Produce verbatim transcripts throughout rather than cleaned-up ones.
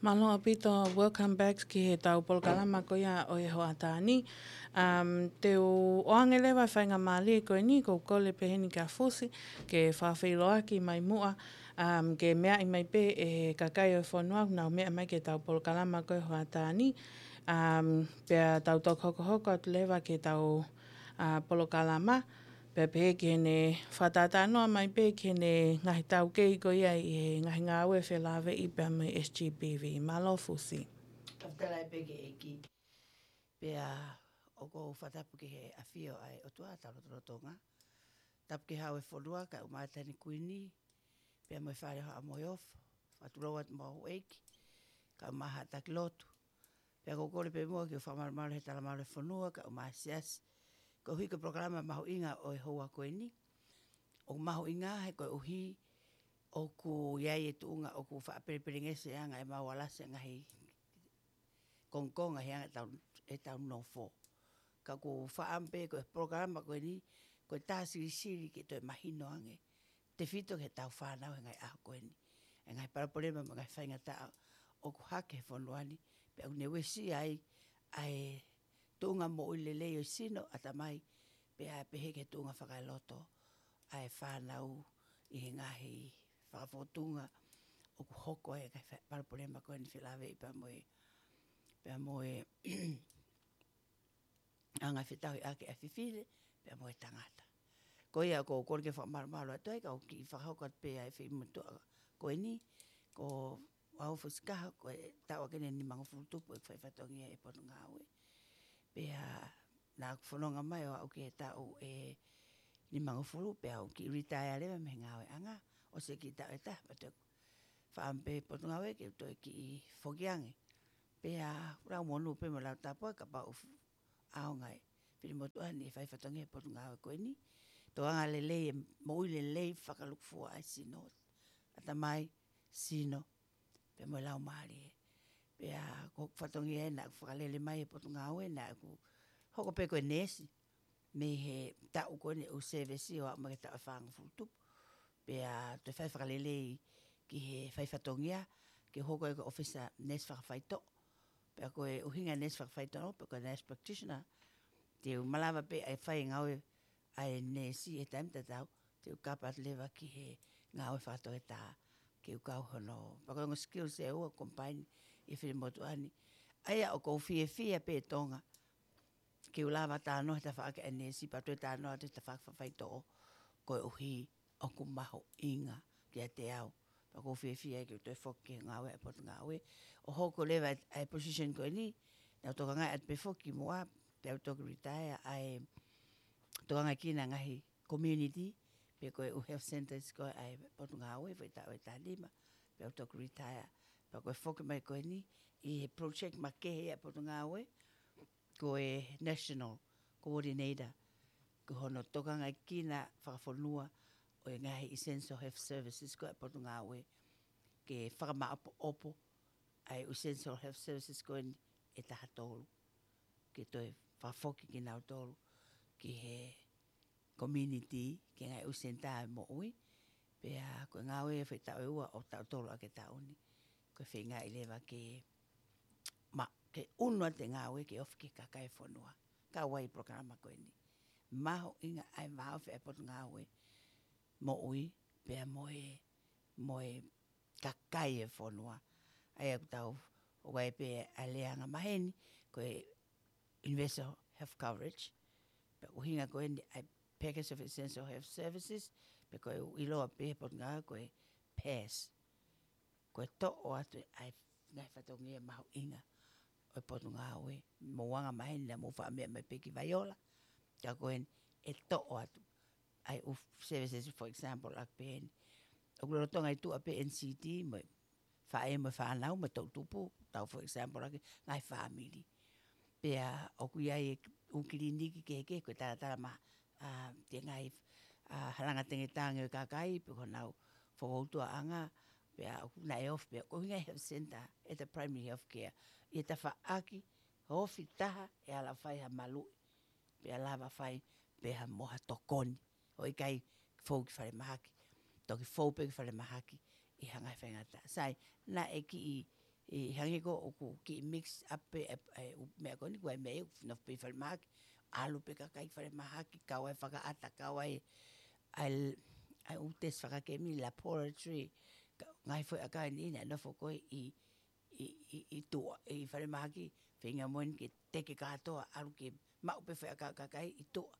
Mālō ʻaupito, welcome back ki heʻetau polokalama ko ia ʻo e hoʻatā ni. Um, te u ʻoange leva e faingamālie ko eni, ʻoku ou kole pē heni kia Fusi, ke fakafeʻiloaki mai muʻa, um, ke meaʻi mai pē ʻe he kakai ʻo e fonua, ʻoku nau meʻa mai ki heʻetau polokalama ko e hoʻatā ni. Um, pea tau toki hokohoko atu leva ki heʻetau, uh, polokalama. Pea pehē ki heʻene fakatātā noa mai pē ki heʻene ngaahi taukei ko ia ʻi he ngaahi ngāue felāveʻi pea mo e S G B V. Mālō Fusi. Fakafetaʻi pē ki he ʻEiki. Pea ʻoku ou fakatapu ki he ʻafio ʻa e ʻOtua, tau lotolotonga. Tapu ki he Hau ʻo e fonua, kae ʻumaʻā e Taʻahine Kuini, pea mo e Fale ʻo Haʻa Moheofo, fakatulou atu mo e houʻeiki, kae ʻumaʻā haʻa taki lotu. Pea ʻoku ou kole pē muʻa ke u fakamalumalu he talamalu ʻo e fonua, kae ʻumaʻā e siasi. Koeʻuhi ko e polokalama mahuʻinga ʻo e houa ko eni. ʻOku mahuʻinga he koeʻuhi ʻoku ʻi ai e tuʻunga ʻoku faʻa pelepelengesi ange ʻa e mau alasi ʻa e ngaahi kongokonga he anga ʻetau, ʻetau nofo. Ka ʻoku ou fakaʻamu pē ko e polokalama ko eni, ko e tā silisili ke toe mahino ange, tefito ki heʻetau fānau he ngaahi ʻaho ko eni. ʻA e ngaahi palopalema mo e ngaahi faingataʻa ʻoku hake he fonua ni, pea ʻoku ne uesia ai ʻa e tuʻunga moʻui lelei ʻo e sino, ʻatamai, pea pehē ki he tuʻunga fakaeloto ʻa e fānau ʻi he ngaahi fakafotunga ʻoku hoko ai e ngaahi fa-, palopalema ko eni felāveʻi pea mo e, pea mo e anga fetauhiʻaki ʻa e fefine, pea mo e tangata. Ko ia ʻoku ou kole ke fakamalumalu atu ai, ka u kiʻi fakahoko atu pē ʻa e feʻimotuʻa ko eni, ko au Fusi Kaha, ko e taʻu ʻaki eni ʻe nimangofulu tupu ʻeku fai fatongia ʻi he Potungāue. Pea naʻa ku fononga mai ʻo aʻu ki he taʻu ʻe nimangofulu, pea u kiʻi retire leva mei he ngāueʻanga, ʻosi e kiʻi taʻu ʻe taha, pea toe fakaʻamu pē Potungāue ke u toe kiʻi foki ange. Pea lau monū pē mo lau tāpuaki kapau ʻoku ʻaonga e fili motuʻa ni e fai fatongia he Potungāue ko eni. Tokanga lelei e moʻui lelei fakalūkufua ʻa e sino, ʻatamai, sino, pea mo e laumālie. Pea ko e fatongia ē naʻa ku fakalele mai he Potungāue, naʻa ku hoko pē ko e neesi mei he taʻu ko eni ʻeku sēvesi ʻo aʻu mai ki he taʻu ʻe fāngofulu tupu. Pea toe fai fakalelei ki he fai fatongia, ke hoko ai ko e ʻōfisa neesi fakafaitoʻo. Pea ko e ʻuhinga neesi fakafaitoʻo, pea ko e nurse practitioner, te u malava pē ʻa e fai e ngāue ʻa e neesi he taimi tatau, te u kapa atu leva ki he ngāue fakatoketā, ke u kau hono. Pea ko e ongo skills ʻe ua ʻoku combine ʻi he fili motuʻa ni. ʻA ia ʻoku ou fiefia pē Tonga, ke u lava talanoa he tafaʻaki ʻa e neesi, pea toe talanoa atu he tafaʻaki fakafaitoʻo, koeʻuhi ʻoku mahuʻinga kiate au. Pea ʻoku ou fiefia ke u toe foki ki he ngāue ʻa e Potungāue. ʻO hoko leva ʻa e position ko eni, naʻa ku tokangaʻi atu pē foki muʻa, pea u toki retire, ʻa e tokangaekina ngaahi community, pe ko e ʻū health centers ko ē ʻa e Potungāue, foʻi taʻu ʻe taha nima, pea u toki retire. Pea ko e foki mai ko eni, ʻi he project makehe ʻa e Potungāue, ko e National Coordinator, ko hono tokangaekina fakafonua ʻo e ngaahi essential health services ko ē ʻa e Potungāue, ke fakamaʻopoʻopo ʻa e essential health services ko eni ʻe taha tolu, ke toe fakafoki kinautolu ki he community, ki he ngaahi ʻū senitā ʻo e moʻui. Pea ko e ngāue ʻa e foʻi taʻu ʻe ua ʻo taʻu tolu ʻaki e taʻu ni. Ko e feingaʻi leva ke ma-, ke ʻunu atu e ngāue ke ofi ki he kakai e fonua. Kau ai e polokalama ko eni. Mahuʻinga ʻa e vāofi ʻa e Potungāue Moʻui, pea mo e, mo e kakai e fonua. ʻA ia ʻoku tau, ʻoku ʻi ai pē ʻa e lea angamaheni, ko e universal health coverage. Pea ʻuhinga ko eni ʻa e package of essential health services, pea ko e ʻoku ʻiloa pē he Potungāue ko e PASS. Ko e toʻo atu ʻa e ngaahi fatongia mahuʻinga ʻo e Potungāue. Mou angamaheni naʻa mou faʻa meʻa mai pē ki Vaiola. Ka ko eni ʻe toʻo atu ʻa e ʻū services, for example, ʻaki pē eni. ʻOku lolotonga ʻi tuʻa pē N C D mo e faʻē mo e fānau mo e toʻutupu, tau for example ʻaki ngaahi fāmili. Pea ʻoku ʻi ai e ʻū kiliniki kehekehe, ko e talatala ma-, ʻa, te ngaahi, ʻa, halanga tengetange ʻo e kakai, pe ko honau fokoutuaʻanga, pea ʻoku naʻe ofi, pea ko e ʻuhinga e health center, ʻa e primary health care. ʻI he tafaʻaki, ofi taha, ʻe ala fai ha maluʻi, pea lava fai pē ha mo ha tokoni. ʻO ʻikai fou ki falemahaki. Toki fou pē ki falemahaki ʻi ha ngaahi faingataʻa. Sai, naʻe kiʻi, ʻI hangē ko ʻoku kiʻi mix up pē ʻa e, ʻa e ʻū meʻa ko eni, ko e meʻa ʻoku nofo pē ʻi falemahaki, ʻalu pē kakai ki falemahaki, kau ai fakaʻata, kau ai, ʻa e, ʻa e ʻū test fakakemi, laboratory, ka, ngaahi foʻi ʻakau ʻe niʻihi naʻe nofo ko ē ʻi, ʻi, ʻi, ʻi tuʻa, ʻi falemahaki, feinga moʻoni ke teke kātoa, ʻalu ke maʻu pē foʻi ʻakau kakai ʻi tuʻa.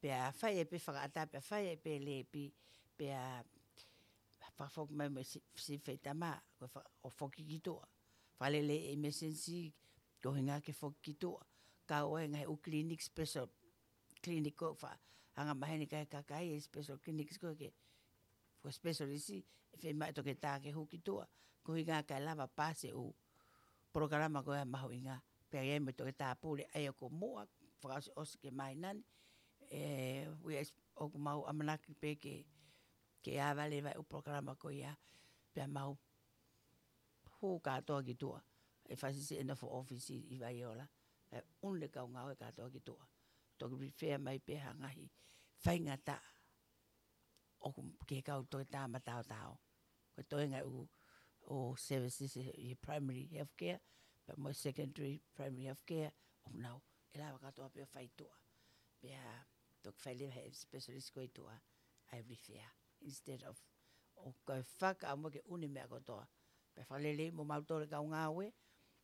Pea fai ai pē fakaʻata, pea fai ai pē lēpi, pea fakafoki mai mo e si-, si feitama, ko e fa-, ʻo foki ki tuʻa. Fakalele e emergency, ko e ʻuhinga ke foki ki tuʻa. Kau ai ngaahi ʻū clinic special, clinic ko fa, anga maheni kai kakai e special clinics ko ke, ko specialist, ʻe fiemaʻu e toketā ke hū ki tuʻa. Ko e ʻuhinga kae lava paasi e ʻū polokalama ko ia mahuʻinga. Pea ʻi ai mo e toketā pule, ʻa ia ko muʻa, fakaʻosiʻosi ke māhina ni. ʻE, ui ʻoku mau ʻamanaki pē ke, ke ava leva e ʻū polokalama ko ia, pea mau hū kātoa ki tuʻa. ʻE fakasiʻisiʻi e nofo ʻōfisi ʻi Vaiola. ʻE ʻunu e kau ngāue kātoa ki tuʻa. Toki refer mai pē ha ngaahi faingataʻa ʻoku ke kau toketā mataotao. Ko e toenga ʻū, ʻū services ʻi primary healthcare, pea mo e secondary primary healthcare, ʻoku nau ʻe lava kātoa pē ʻo fai tuʻa. Pea toki fai leva he specialist ko ē ʻi tuʻa, ʻa e refer. Instead of, ʻo ko e fakaʻamu ke ʻunu e meʻa kotoa. Pea fakalelei mo mautolu e kau ngāue,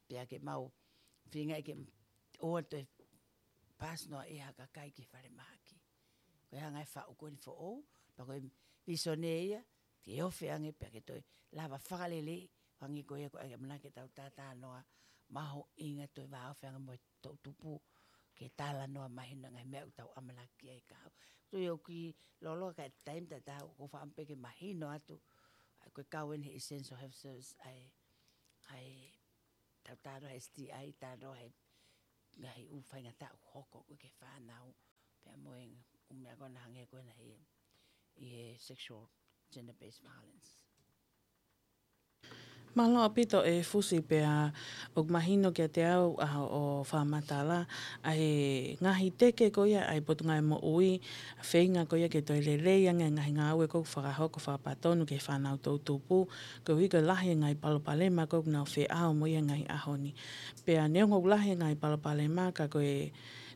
pea ke mau feinga ke ʻoua toe paasi noa ʻe ha kakai ki falemahaki. Ko e hanga ʻe he faʻu ko eni foʻou, pea ko e visone ia, ke ofi ange pea ke toe lava fakalelei, hangē ko ia ko e ʻamanaki ke tau tātānoa, mahuʻinga toe vāofi ange mo e toʻutupu, ke talanoa mahino ngaahi meʻa ʻoku tau ʻamanaki ai ka hau. Tui ʻoku kiʻi lōloa ka e taimi tatau, ʻoku ou fakaʻamu pē ke mahino atu, ʻa ia ko e kau eni he essential health service, ʻa e, ʻa e tau talanoa he S T I, talanoa he ngaahi ʻū faingataʻa ʻoku hoko ko ē ki he fānau, pea mo e ʻū meʻa ko ena hangē ko ena he, ʻi he sexual gender-based violence. Mālō ʻaupito e Fusi pea ʻoku mahino kiate au ʻa hoʻo fakamatala ʻa e ngaahi teke ko ia ʻa e Potungāue Moʻui, feinga ko ia ke toe lelei ange ngaahi ngāue ʻoku fakahoko fakapatonu ki he fānau toʻutupu, koeʻuhi ko e lahi e ngaahi palopalema ʻoku nau feʻao mo ia he ngaahi ʻaho ni. Pea neongo ʻoku lahi e ngaahi palopalema ka ko e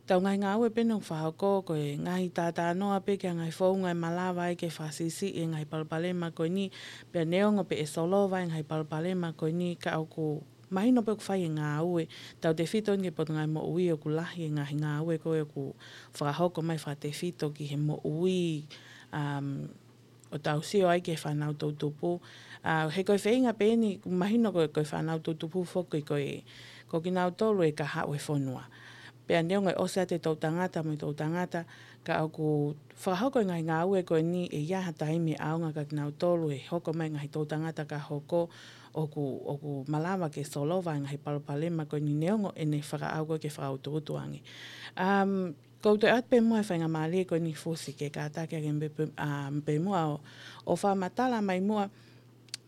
tau ngaahi ngāue pē ʻoku fakahoko ko e ngaahi tātānoa pē ki he ngaahi founga ʻe malava ai ke fakasiʻisiʻi e ngaahi palopalema ko eni, pea neongo pē ʻe solova e ngaahi palopalema ko eni ka ʻoku mahino pē ʻoku fai e ngāue, tautefito ki he Potungāue Moʻui ʻoku lahi e ngaahi ngāue ko ē ʻoku fakahoko mai fakatefito ki he moʻui, um, ʻo tau sio ai ki he fānau toʻutupu. ʻA, he ko e feinga pē eni, mahino ko e, ko e fānau toʻutupu foki ko e, ko kinautolu e kahaʻu e fonua. Pea neongo e ʻosi atu e toʻutangata mo e toʻutangata, ka ʻoku fakahoko e ngaahi ngāue ko eni ʻe ʻi ai ha taimi ʻaonga kia kinautolu he hoko mai e ngaahi toʻutangata ka hoko ʻoku, ʻoku malava ke solova e ngaahi palopalema ko eni neongo ʻene fakaʻau ko ē ke fakautuutu ange. Um, ʻOku ou toe ʻoatu pē muʻa e faingamālie ko eni Fusi ke kātaki ange pē, pē, ʻa, pē muʻa ʻo, ʻo fakamatala mai muʻa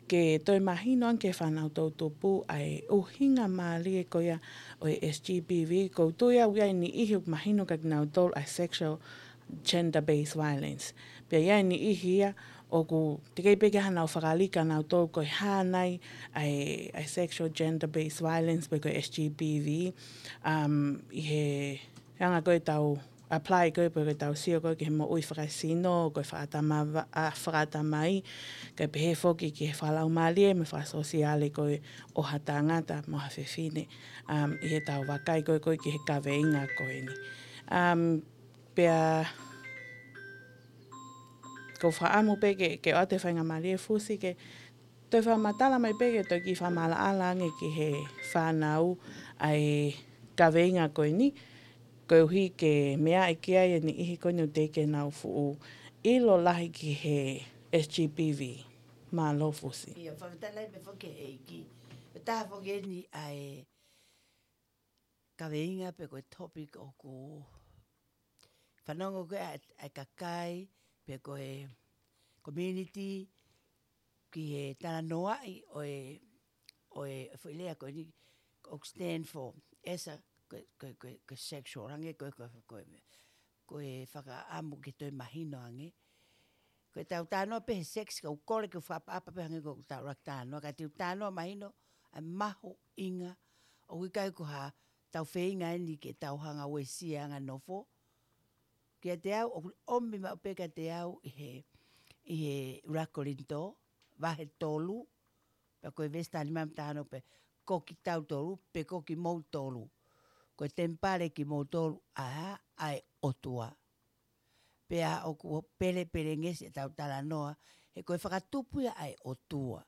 ke toe mahino ange ki he fānau toʻutupu ʻa e ʻuhinga mālie ko ia ʻo e S G B V, ʻoku ou tui au ʻoku ʻi ai e niʻihi ʻoku mahino kia kinautolu ʻa e sexual gender-based violence. Pea ʻi ai e niʻihi ia ʻoku teʻeki pē ke ʻi ai haʻanau fakalika nautolu ko e hā nai ʻa e, ʻa e sexual gender-based violence pe ko e S G B V, um, ʻi he anga ko ē ʻetau apply ko ē pe ko ʻetau sio ko ē ki he moʻui fakasino, ko e fakaʻatamava-, ʻa, fakaʻatamai, kae pehē foki ki he fakalaumālie mo e fakasōsiale ko ē ʻo ha tangata mo ha fefine, um, ʻi heʻetau vakai ko ē ko ē ki he kaveinga ko eni. Um, pea ʻoku ou fakaʻamu pē ke, ke ʻoatu e faingamālie Fusi ke toe fakamatala mai pē ke toe kiʻi fakamaʻalaʻala ange ki he fānau ʻa e kaveinga ko eni, koeʻuhi ke meaʻi ki ai e niʻihi ko eni ʻoku teʻeki ke nau fuʻu ʻilo lahi ki he S G B V. Mālō Fusi. ʻIo, fakamatala mai foki ʻEiki. ʻE taha foki eni ʻa e kaveinga pe ko e topic ʻoku fanongo ko ē ʻa e, ʻa e kakai pe ko e community ki he talanoaʻi ʻo e, ʻo e foʻi lea ko eni ʻoku stand for esa ko e, ko e, ko e, ko e sexual, hangē ko e, ko e, ko e, ko e fakaʻamu ke toe mahino ange. Ko ʻetau talanoa pē he sex ka ʻoku kole ke fakaʻapaʻapa pē hangē ko ʻetau ʻuluaki talanoa, ka te u talanoa mahino ʻa e mahuʻinga, ʻoku ʻikai ko ha tau feinga eni ke tau hanga uesia anga nofo. Kiate au, ʻoku ʻomi maʻu pē kiate au ʻi he, ʻi he ʻuluaki Kolinitō, vahe tolu, pea ko e veesi taha nima mo e taha ono pē, ko kitautolu, pe ko kimoutolu. Ko e temipale kimoutolu, ʻa, ʻa e ʻOtua. Pea ʻoku pelepelengesi ʻetau talanoa, he ko e fakatupu ia ʻa e ʻOtua.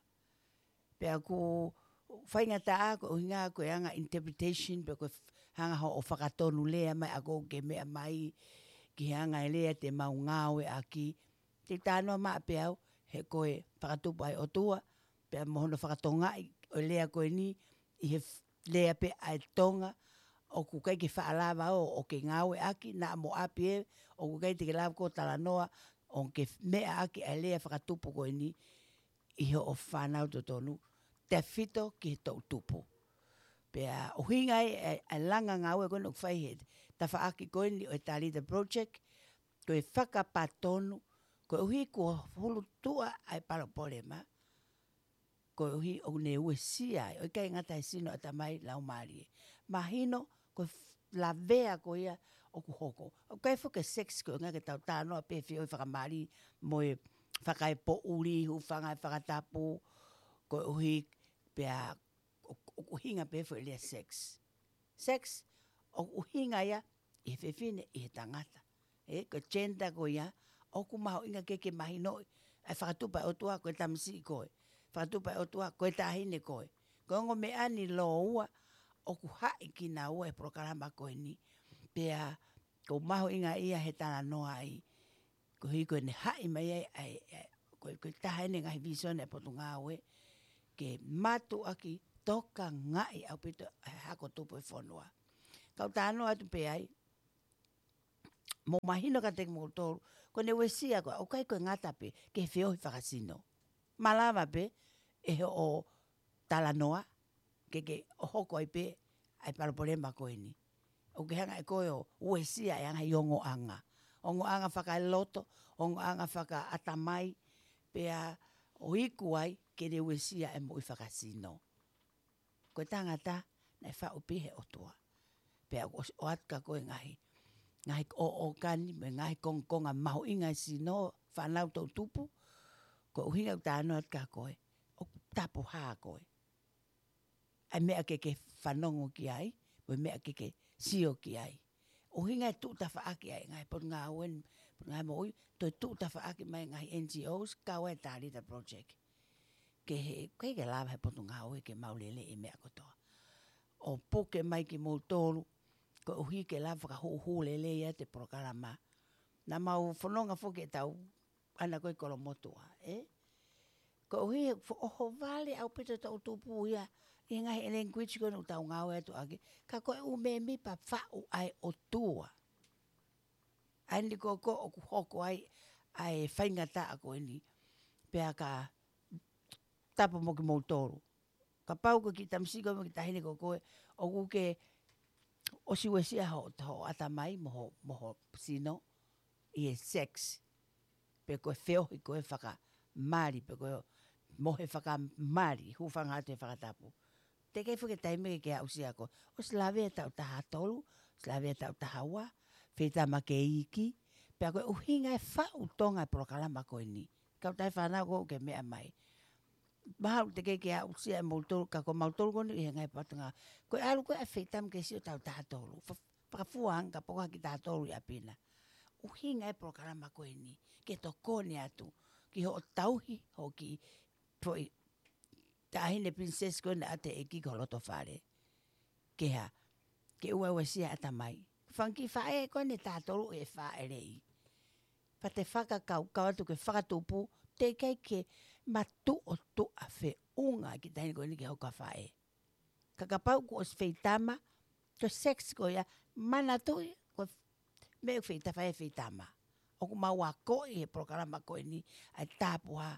Pea ʻoku faingataʻa ko e ʻuhinga ko e anga interpretation, pe ko e f-, hanga hoʻo fakatonu lea mai ʻa koe ke meʻa mai ki he anga e lea te mau ngāueʻaki. Te u talanoa maʻa pē au, he ko e fakatupu ʻa e ʻOtua, pea mo hono fakatongaʻi ʻo e lea ko eni, ʻi he f-, lea pē ʻa e Tonga, ʻoku ʻikai ke faʻa lava ʻo, ʻo ke ngāueʻaki, naʻa mo ʻapi ē, ʻoku ʻikai te ke lava ʻo talanoa, ʻo ke f-, meʻaʻaki ʻa e lea fakatupu ko eni, ʻi hoʻo fānau totonu, tefito ki he toʻutupu. Pea ʻuhinga ai, ʻa e, ʻa e langa ngāue ko eni ʻoku fai he tafaʻaki ko eni ʻo e Talita Project, ko e fakapatonu, koeʻuhi kuo hulutuʻa ʻa e palopalema, koeʻuhi ʻoku ne uesia ai, ʻo ʻikai ngata he sino, ʻatamai, laumālie. Mahino, ko e f-, lavea ko ia ʻoku hoko. ʻOku ʻikai foki ke sex ko e ʻuhinga ke tau talanoa pē feohi fakamali mo e fakaepoʻuli, hūfanga he fakatapu, koeʻuhi pea ʻo, ʻo, ʻuhinga pē foʻi lea sex. Sex, ʻoku ʻuhinga ia ʻi he fefine, ʻi he tangata. ʻE, ko e gender ko ia, ʻoku mahuʻinga ke, ke mahinoʻi, ʻa e fakatupu ʻa e ʻOtua ko e tamasiʻi koe. Fakatupu ʻa e ʻOtua ko e taʻahine koe. Ko e ongo meʻa ni ʻe ua, ʻoku haʻi kinaua he polokalama ko eni. Pea, ʻoku mahuʻinga ia he talanoa ai. Koeʻuhi ko ʻene haʻi mai ai, ʻa e, ʻa e, ko e, ko e taha eni e ngaahi visone ʻa e Potungāue, ke mātuʻaki tokangaʻi ʻaupito ʻa e hako tupu ʻo e fonua. Kau talanoa atu pē ai, mou mahino kiate kimoutolu, ko ʻene uesia ko ē, ʻoku ʻikai ko e ngata pē, ke feohi fakasino. Malava pē, ʻe hoʻo talanoa, ke ke ʻo hoko ai pē, ʻa e palopalema ko eni. ʻOku ke hanga ʻe koe ʻo uesia ʻa e ngaahi ongoʻanga. Ongoʻanga fakaeloto, ongoʻanga fakaʻatamai, pea ʻo iku ai, ke ne uesia ʻa e moʻui fakasino. Ko e tangata, naʻe faʻu pē ʻe he ʻOtua. Pea ʻoku ʻosi ʻoatu kia koe e ngaahi, ngaahi ʻo, ʻōkani, mo e ngaahi kongokonga mahuʻinga ʻa e sino, fānau toʻutupu, ko e ʻuhinga ʻoku talanoa atu kia koe, ʻoku tapuhā koe. ʻA e meʻa ke ke fanongo ki ai, mo e meʻa ke ke sio ki ai. ʻUhinga e tuʻu tafaʻaki ʻa e ngaahi Potungāue, Potungāue Moʻui, toe tuʻu tafaʻaki mai e ngaahi N G Os, kau ai e Talita Project. Ke he, ʻikai ke lava he Potungāue ke mau lele e meʻa kotoa. ʻO puke mai kimoutolu, koeʻuhi ke lava fakahūhū lelei atu e polokalama. Naʻa mau fononga foki ʻetau ʻana ko ē Kolomotuʻa, ē? Koeʻuhi he fo-, ʻohovale ʻaupito e toʻutupu ia, ʻi he ngaahi language ko ē ʻoku tau ngāue atu ʻaki. Ka ko e ʻū mēmipa faʻu ʻa e ʻOtua. ʻA eni ko ē ʻoku hoko ai, ʻa e faingataʻa ko eni. Pea ka tapu mo kimoutolu. Kapau ko e kiʻi tamasiʻi ko ē mo e kiʻi taʻahine ko ē, ʻoku ke ʻosi uesia ho, ho ʻatamai mo ho, mo ho sino, ʻi he sex. Pe ko e feohi ko ē fakamali, pe ko e mohe fakamali, hūfanga atu he fakatapu. Teʻeki ai foki e taimi ke ke aʻusia koe. ʻOsi lavea e taʻu taha tolu, ʻosi lavea e taʻu taha ua, feitama ke iiki, pea ko e ʻuhinga e faʻu Tonga e polokalama ko eni. Kau taʻe fānau ko ē ke meʻa mai. Mahalo teʻeki ke aʻusia ʻe moutolu, ka ko mautolu ko eni ʻi he ngaahi Potungāue. Ko e ʻalu ko ē ʻa e feitama ke sio taʻu taha tolu. Fa-, fakafuanga poko haki taha tolu ʻi ʻapi na. ʻUhinga e polokalama ko eni, ke tokoni atu, ki hoʻo tauhi, hoʻo kiʻi foʻi taʻahine princess ko ē naʻe ʻoatu ʻe he ʻEiki ki ho loto fale. Ke hā, ke ʻoua ʻe uesia e ʻatamai. Fanga kiʻi faʻē ko eni taha tolu ʻe faʻeleʻi. Pea te fakakaukau atu ki he fakatupu, teʻeki ai ke matuʻotuʻa feʻunga e kiʻi taʻahine ko eni ki hoku faʻē. Ka kapau kuo ʻosi feitama, ko e sex ko ia, manatuʻi, ko e meʻa ʻoku feita-, fai ʻe he feitama. ʻOku mau akoʻi he polokalama ko eni, ʻa e tapuhā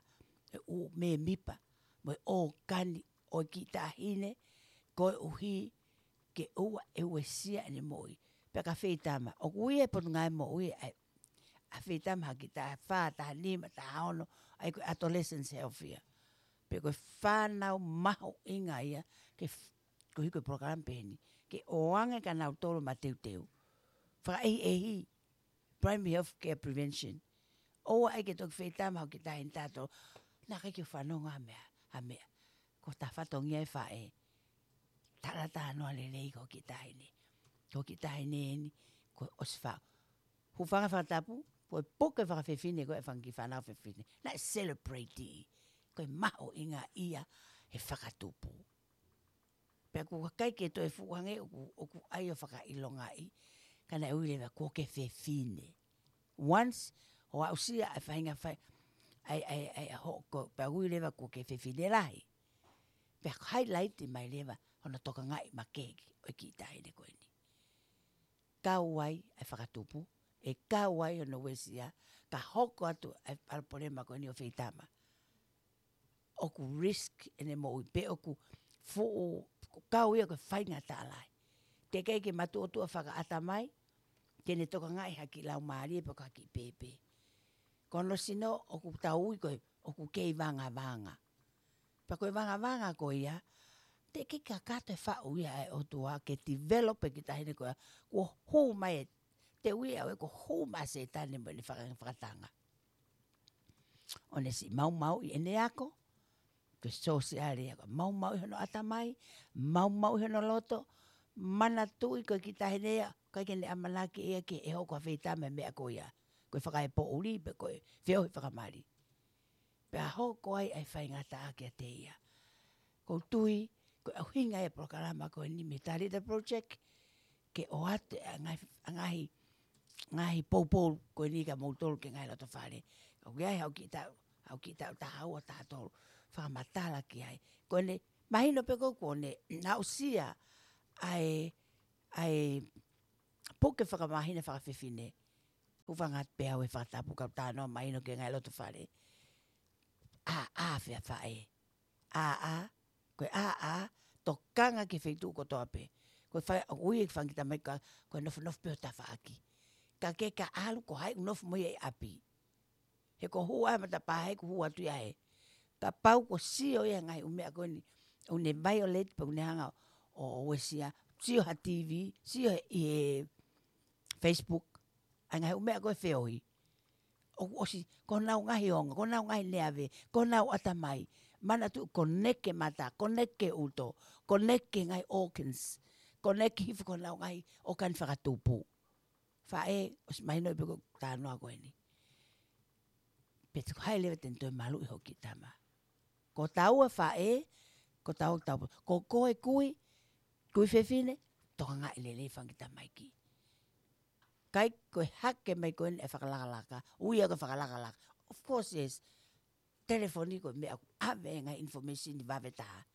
e ʻū mēmipa, mo e ʻōkani ʻo e kiʻi taʻahine, koeʻuhi ke ʻoua ʻe uesia ʻene moʻui. Pea ka feitama, ʻoku ui e Potungāue Moʻui ʻa e, ʻa e feitama ha kiʻi taha fā, taha nima, taha ono, ʻa ia ko e adolescence health ia. pe ko e fānau mahuʻinga ia, ke f-, ko e hiko e polokalama pehē ni, ke ʻoange kia nautolu mateuteu. Fakaʻehiʻehi, primary health care prevention. ʻOua ʻai ke toki feitama hoʻo kiʻi taʻahine taʻetolu. Naʻe ʻikai ke u fanongo ha meʻa, ha meʻa. Ko e fatongia e faʻē. Talatalanoa lelei ki hoʻo kiʻi taʻahine. Ko hoʻo kiʻi taʻahine eni, kuo ʻosi fa-, hūfanga he fakatapu, ko e puke fakafefine ko e fanga kiʻi fānau fefine. Naʻe celebrate. Ko e mahuʻinga ia he fakatupu. Pea ʻoku ʻikai ke toe fuʻu hangē ʻoku, ʻoku ʻai ʻo fakaʻilongaʻi, ka naʻe ui leva kuo ke fefine. Once, ʻo aʻusia ʻa e faʻahinga fai, ʻai, ʻai, ʻai, ʻa hoʻo ko, pea ui leva kuo ke fefine lahi. Pea highlight mai leva, hono tokangaʻi makehe ʻo e kiʻi taʻahine ko eni. Kau ai ʻa e fakatupu, ʻe kau ai hono uesia, ka hoko atu ʻa e palopalema ko eni ʻo feitama. ʻOku risk ʻene moʻui pe ʻoku fuʻu, ʻoku kau ia ko e faingataʻa lahi. Teʻeki ai ke matuʻotuʻa fakaʻatamai, ke ne tokangaʻi ha kiʻi laumālie pe ko ha kiʻi pēpē. Ko hono sino ʻoku tau ui ko e, ʻoku kei vangavanga. Pea ko e vangavanga ko ia, teʻeki kakato e faʻu ia ʻa e ʻOtua ke develop e kiʻi taʻahine ko ia, kuo hū mai e, te ui au ē kuo hū mai ʻa Sētane mo ʻene faka-, fakatanga. ʻO ne siʻi maumauʻi ʻene ako, ko e sōsiale ia, ko e maumauʻi hono ʻatamai, maumauʻi hono loto, manatuʻi ko e kiʻi taʻahine ia, ʻikai ke ne ʻamanaki ia ke ʻe hoko ha feitama he meʻa ko ia. Ko e fakaepoʻuli, pe ko e feohi fakamali. Pea hoko ai ʻa e faingataʻa kiate ia. ʻOku ou tui, ko e ʻuhinga ia e polokalama ko eni mei he Talita Project, ke ʻoatu ʻa e ngaahi, ʻa e ngaahi, ngaahi poupou ko eni kia moutolu ki he ngaahi loto fale. Ka ʻoku ʻi ai haʻo kiʻi taʻu, haʻo kiʻi taʻu taha ua taha tolu, fakamatala ki ai. Ko ʻene, mahino pē ʻoku, kuo ne aʻusia ʻa e, ʻa e puke fakamāhina fakafefine. Hūfanga atu pē au he fakatapu kau talanoa mahino ki he ngaahi loto fale. ʻĀ, ʻā, fea faʻē. ʻĀ, ʻā, ko e ʻā, ʻā, tokanga ki he feituʻu kotoa pē. Ko e fai, ʻoku ui e fanga kiʻi tamaiki ko e nofonofo pē ʻo tafaʻaki. Ka ke ka ʻalu ko hai ʻoku nofo mo ia ʻi ʻapi. He ko e hū ʻa e matapā he ʻoku hū atu ia he. Kapau kuo sio ia he ngaahi ʻū meʻa ko eni, ʻoku ne violate pe ʻoku ne hanga ʻo, ʻo uesia, sio ha T V, sio he, ʻi he Facebook, ʻa e ngaahi ʻū meʻa ko e feohi. ʻOku ʻosi, ko honau ngaahi ongo, ko honau ngaahi neave, ko honau ʻatamai. Manatuʻi connect ki he mata, connect ki he ʻuto, connect ki he ngaahi organs, connect ki he hifo ko honau ngaahi ʻōkani fakatupu. Faʻē, ʻosi mahino pē ʻoku talanoa ko eni. Pe te ko hai leva te ne toe maluʻi hoʻo kiʻi tama. Ko taua faʻē, ko taua tau, ko koe kui, kui fefine, tokangaʻi lelei fanga kiʻi tamaiki. ʻIkai ko e hake mai ko eni e fakalakalaka, ui ia ko e fakalakalaka. Of course, yes. Telefoni ko e meʻa ʻoku ʻave e ngaahi information ʻi vave taha.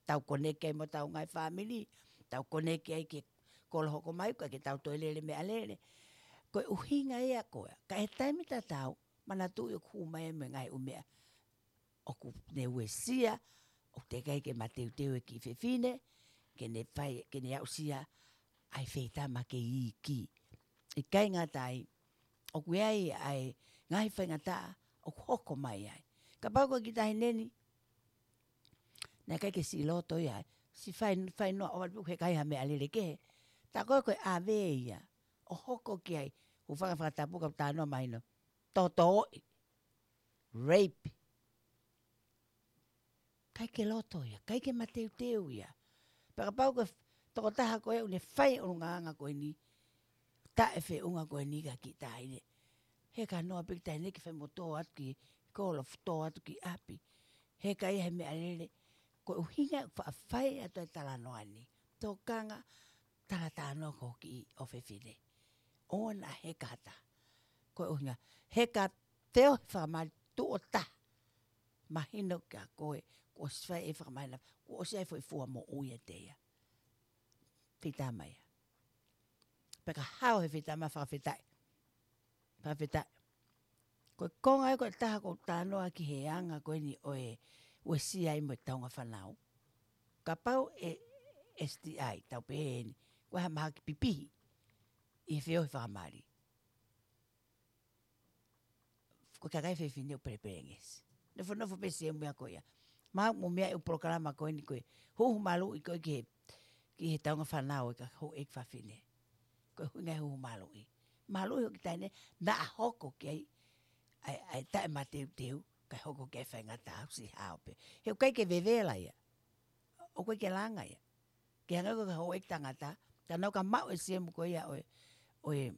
Tau connect ai mo ʻetau ngaahi fāmili, tau connect ai ki he kolo hoko mai, ʻikai ke tau toe lele meʻalele. Ko e ʻuhinga ia ko ia. Ka ʻi he taimi tatau, manatuʻi ʻoku hū mai mo e ngaahi ʻū meʻa ʻoku ne uesia, ʻoku teʻeki ai ke mateuteu e kiʻi fefine, ke ne fai, ke ne aʻusia ʻa e feitama kei iiki. ʻIkai ngata ai, ʻoku ʻi ai ʻa e ngaahi faingataʻa ʻoku hoko mai ai. Kapau ko e kiʻi taʻahine ni, naʻe ʻikai ke siʻi loto ia ai, siʻi fai, fai noa ʻo ʻalu he ʻikai ha meʻalele kehe. Tā ko ē ko e ʻave ia, ʻo hoko ki ai, hūfanga he fakatapu kau talanoa mahino. Tōtōʻi. Rape. ʻIkai ke loto ia, ʻikai ke mateuteu ia. Pea kapau ko e tokotaha ko ē ʻoku ne fai ʻulungaanga ko eni, taʻefeʻunga ko eni ki he kiʻi taʻahine. He ka noa pē kiʻi taʻahine ke fai mo tō atu ki kolo, tō atu ki ʻapi. He ʻikai ha meʻalele, ko e ʻuhinga faʻa fai atu e talanoa ni. Tokanga, talatalanoa ki hoʻo kiʻi ʻofefine. ʻOua naʻa heka ha taha. Ko e ʻuhinga, heka feohi fakamali tuʻo taha. Mahino kia koe, kuo ʻosi fai e fakamahino, kuo ʻosi ʻi ai e foʻi fua moʻui ʻiate ia. Feitama ia. Pea ka hao he feitama, fakafetaʻi. Fakafetaʻi. Ko e konga ē ko e taha ʻoku ou talanoa ki he anga ko eni ʻo e uesia ai mo e taunga fānau. Kapau e S T I, tau pehē ni, ko e ha mahaki pipihi ʻi he feohi fakamali. Ko e kakai fefine ʻoku pelepelengesi. Nofonofo pē siʻi meʻa ko ia. Mau mo meʻa ʻi he polokalama ko eni ko e huhu maluʻi ko ē ki he, ki he taunga fānau ʻa e kau houʻeiki fafine. Ko e ʻuhinga e huhu maluʻi. Maluʻi hoʻo kiʻi taʻahine, naʻa hoko ki ai ʻa e, ʻa e taʻemateuteu, kae hoko ki ai e faingataʻa, ʻosi hao pē. He ʻoku ʻikai ke vevela ia. ʻOku ʻikai ke langa ia. Ke hangē ko e kau houʻeiki tangata, ka nau ka maʻu e siemu ko ia ʻo e, ʻo e,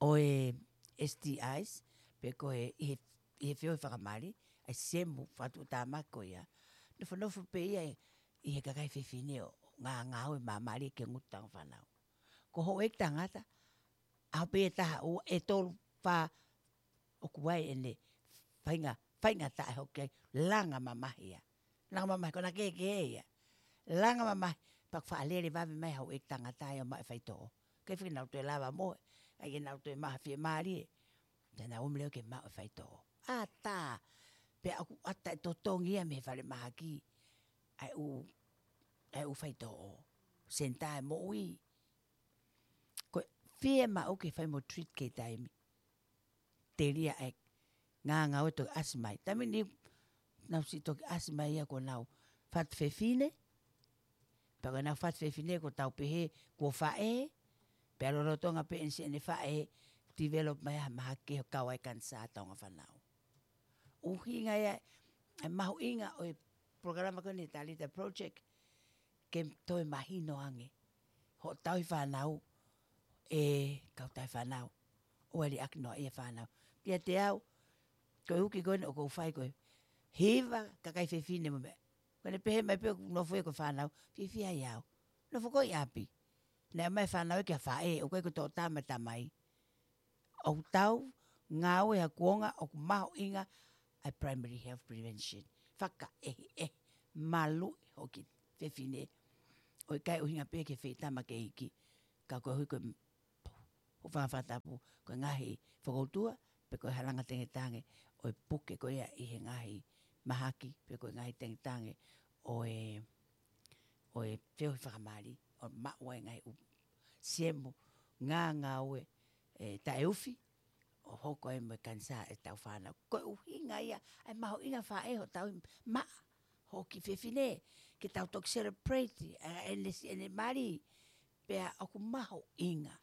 ʻo e S T Is, pe ko e ʻi he, ʻi he feohi fakamali, ʻa e siemu fakatuʻutāmaki ko ia. Nofonofo pē ia ʻi he kakai fefine ʻo ngāngāue māmālie ke ngutu taunga fānau. Ko e houʻeiki tangata, ʻaho pē ʻe taha, ua, ʻe tolu, fā, ʻoku ʻi ai ʻene fainga, faingataʻa ʻe hoko ki ai, langa mamahi ia. Langa mamahi, ko ʻena kehekehe ia. Langa mamahi, pea ʻoku faʻa lele vave mai e houʻeiki tangata ia ʻo maʻu e faitoʻo. Ke fiki nau toe lava mo, ʻai ke nau toe maʻu ha fiemālie. Te nau ō mai leva ke maʻu e faitoʻo. ʻAtā, pea ʻoku ʻatā e totongi ia mei he falemahaki. ʻA e ʻū, ʻa e ʻū faitoʻo. Senitā e moʻui. Ko e fiemaʻu ke fai mo treat ke taimi. Telia e ngāngāue toki ʻasi mai. Taimi ni nau siʻi toki ʻasi mai ia ko ʻenau fatu fefine. Pea ko ʻenau fatu fefine ko ʻetau pehē kuo faʻē. Pea lolotonga pē ʻene siʻi ʻene faʻē, develop mai ha mahaki ke kau ai e kanisā taunga fānau. ʻUhinga ia, e mahuʻinga ʻo e polokalama ko eni Talita Project, ke toe mahino ange hoʻo tauhi fānau, ʻe kau tauhi fānau, ʻoua ʻe liʻaki noaʻia e fānau. Kiate au, ko e uki ko eni ʻoku ou fai ko e hiva kakai fefine mo meʻa. Ko ʻene pehē mai pē ʻoku nofo ia ko e fānau, fiefia ai au. Nofo koe ʻi ʻapi. Naʻe ʻomai e fānau ia ki ha faʻē, ʻoku ʻikai ko e toʻutama e tamai. ʻOku tau ngāue ha kuonga ʻoku mahuʻinga ʻa e primary health prevention. Fakaʻehiʻehi, maluʻi hoʻo kiʻi fefine. ʻOku ʻikai ʻuhinga pē ki he feitama ke iiki. Ka koeʻuhi ko e hūfanga he fakatapu, ko e ngaahi fokoutua, pe ko e halanga tengetange ʻo e puke ko ia ʻi he ngaahi mahaki, pe ko e ngaahi tengetange ʻo e, ʻo e feohi fakamali, ʻo maʻu ai e ngaahi ʻū siemu ngāngāue, ʻe, taʻeufi, ʻo hoko ai mo e kanisā ʻetau fānau. Ko e ʻuhinga ia, ʻa e mahuʻinga faʻē hoʻo tauhi maʻa hoʻo kiʻi fefine, ke tau toki celebrate, ʻa, ʻene siʻi ʻene mali, pea ʻoku mahuʻinga.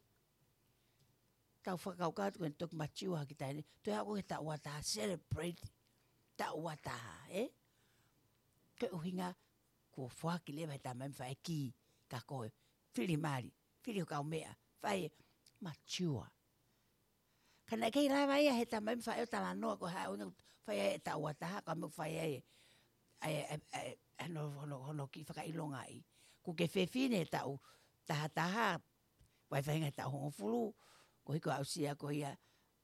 Tau fakakaukau atu ko ʻene toki mature ha kiʻi taʻahine, toe haʻu ko e taʻu ua taha, celebrate taʻu ua taha, ē? Ko e ʻuhinga, kuo foaki leva he tamai mo e faʻē kī, ka ko e fili mali, fili ho kaumeʻa, fai e mature. Ka naʻe ʻikai lava ia he tamai mo e faʻē ʻo talanoa ko e hā e ʻuhinga ʻoku fai ai e taʻu ua taha, ka mou fai ai e, e, e, e, hono, hono, hono kiʻi fakaʻilongaʻi. Kuo ke fefine he taʻu taha taha, vaivai he taʻu hongofulu, koeʻuhi ko e aʻusia ko ia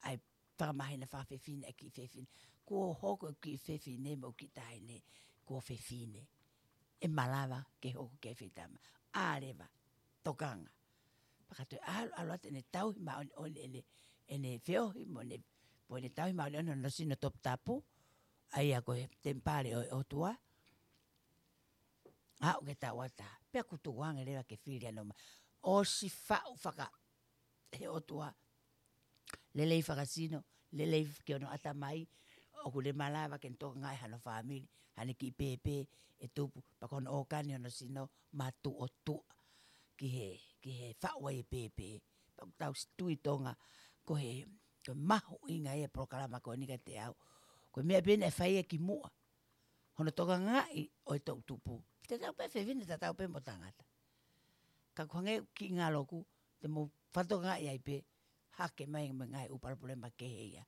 ʻa e fakamāhina fakafefine ʻa e kiʻi fefine. Kuo hoko e kiʻi fefine mo e kiʻi taʻahine, kuo fefine. ʻE malava ke hoko ki ai e feitama. ʻA leva, tokanga. Pea ka toe ʻalu, ʻalu atu ʻene tauhi māʻoniʻoni ʻene, ʻene feohi mo ʻene, mo ʻene tauhi māʻoniʻoni hono sino toputapu, ʻa ia ko e temipale ʻo e ʻOtua, aʻu ki he taʻu ua taha, pea kuo tukuange leva ke fili hano ma-, ʻosi faʻu faka-, he ʻOtua, lelei fakasino, lelei ki hono ʻatamai, ʻoku ne malava ke ne tokangaʻi hano fāmili, haʻane kiʻi pēpē ʻe tupu, pea ko hono ʻōkani hono sino, matuʻotuʻa ki he, ki he faʻu ai e pēpē. Pea ʻoku tau tui Tonga, ko e, ko e mahuʻinga ia e polokalama ko eni kiate au. Ko e meʻa pē naʻe fai ia kimuʻa. Hono tokangaʻi ʻo e toʻutupu. Tatau pē fefine, tatau pē mo tangata. Ka ʻoku hangē kiʻi ngaloku, te mou fakatokangaʻi ai pē, hake mai mo e ngaahi ʻū palopalema kehe ia.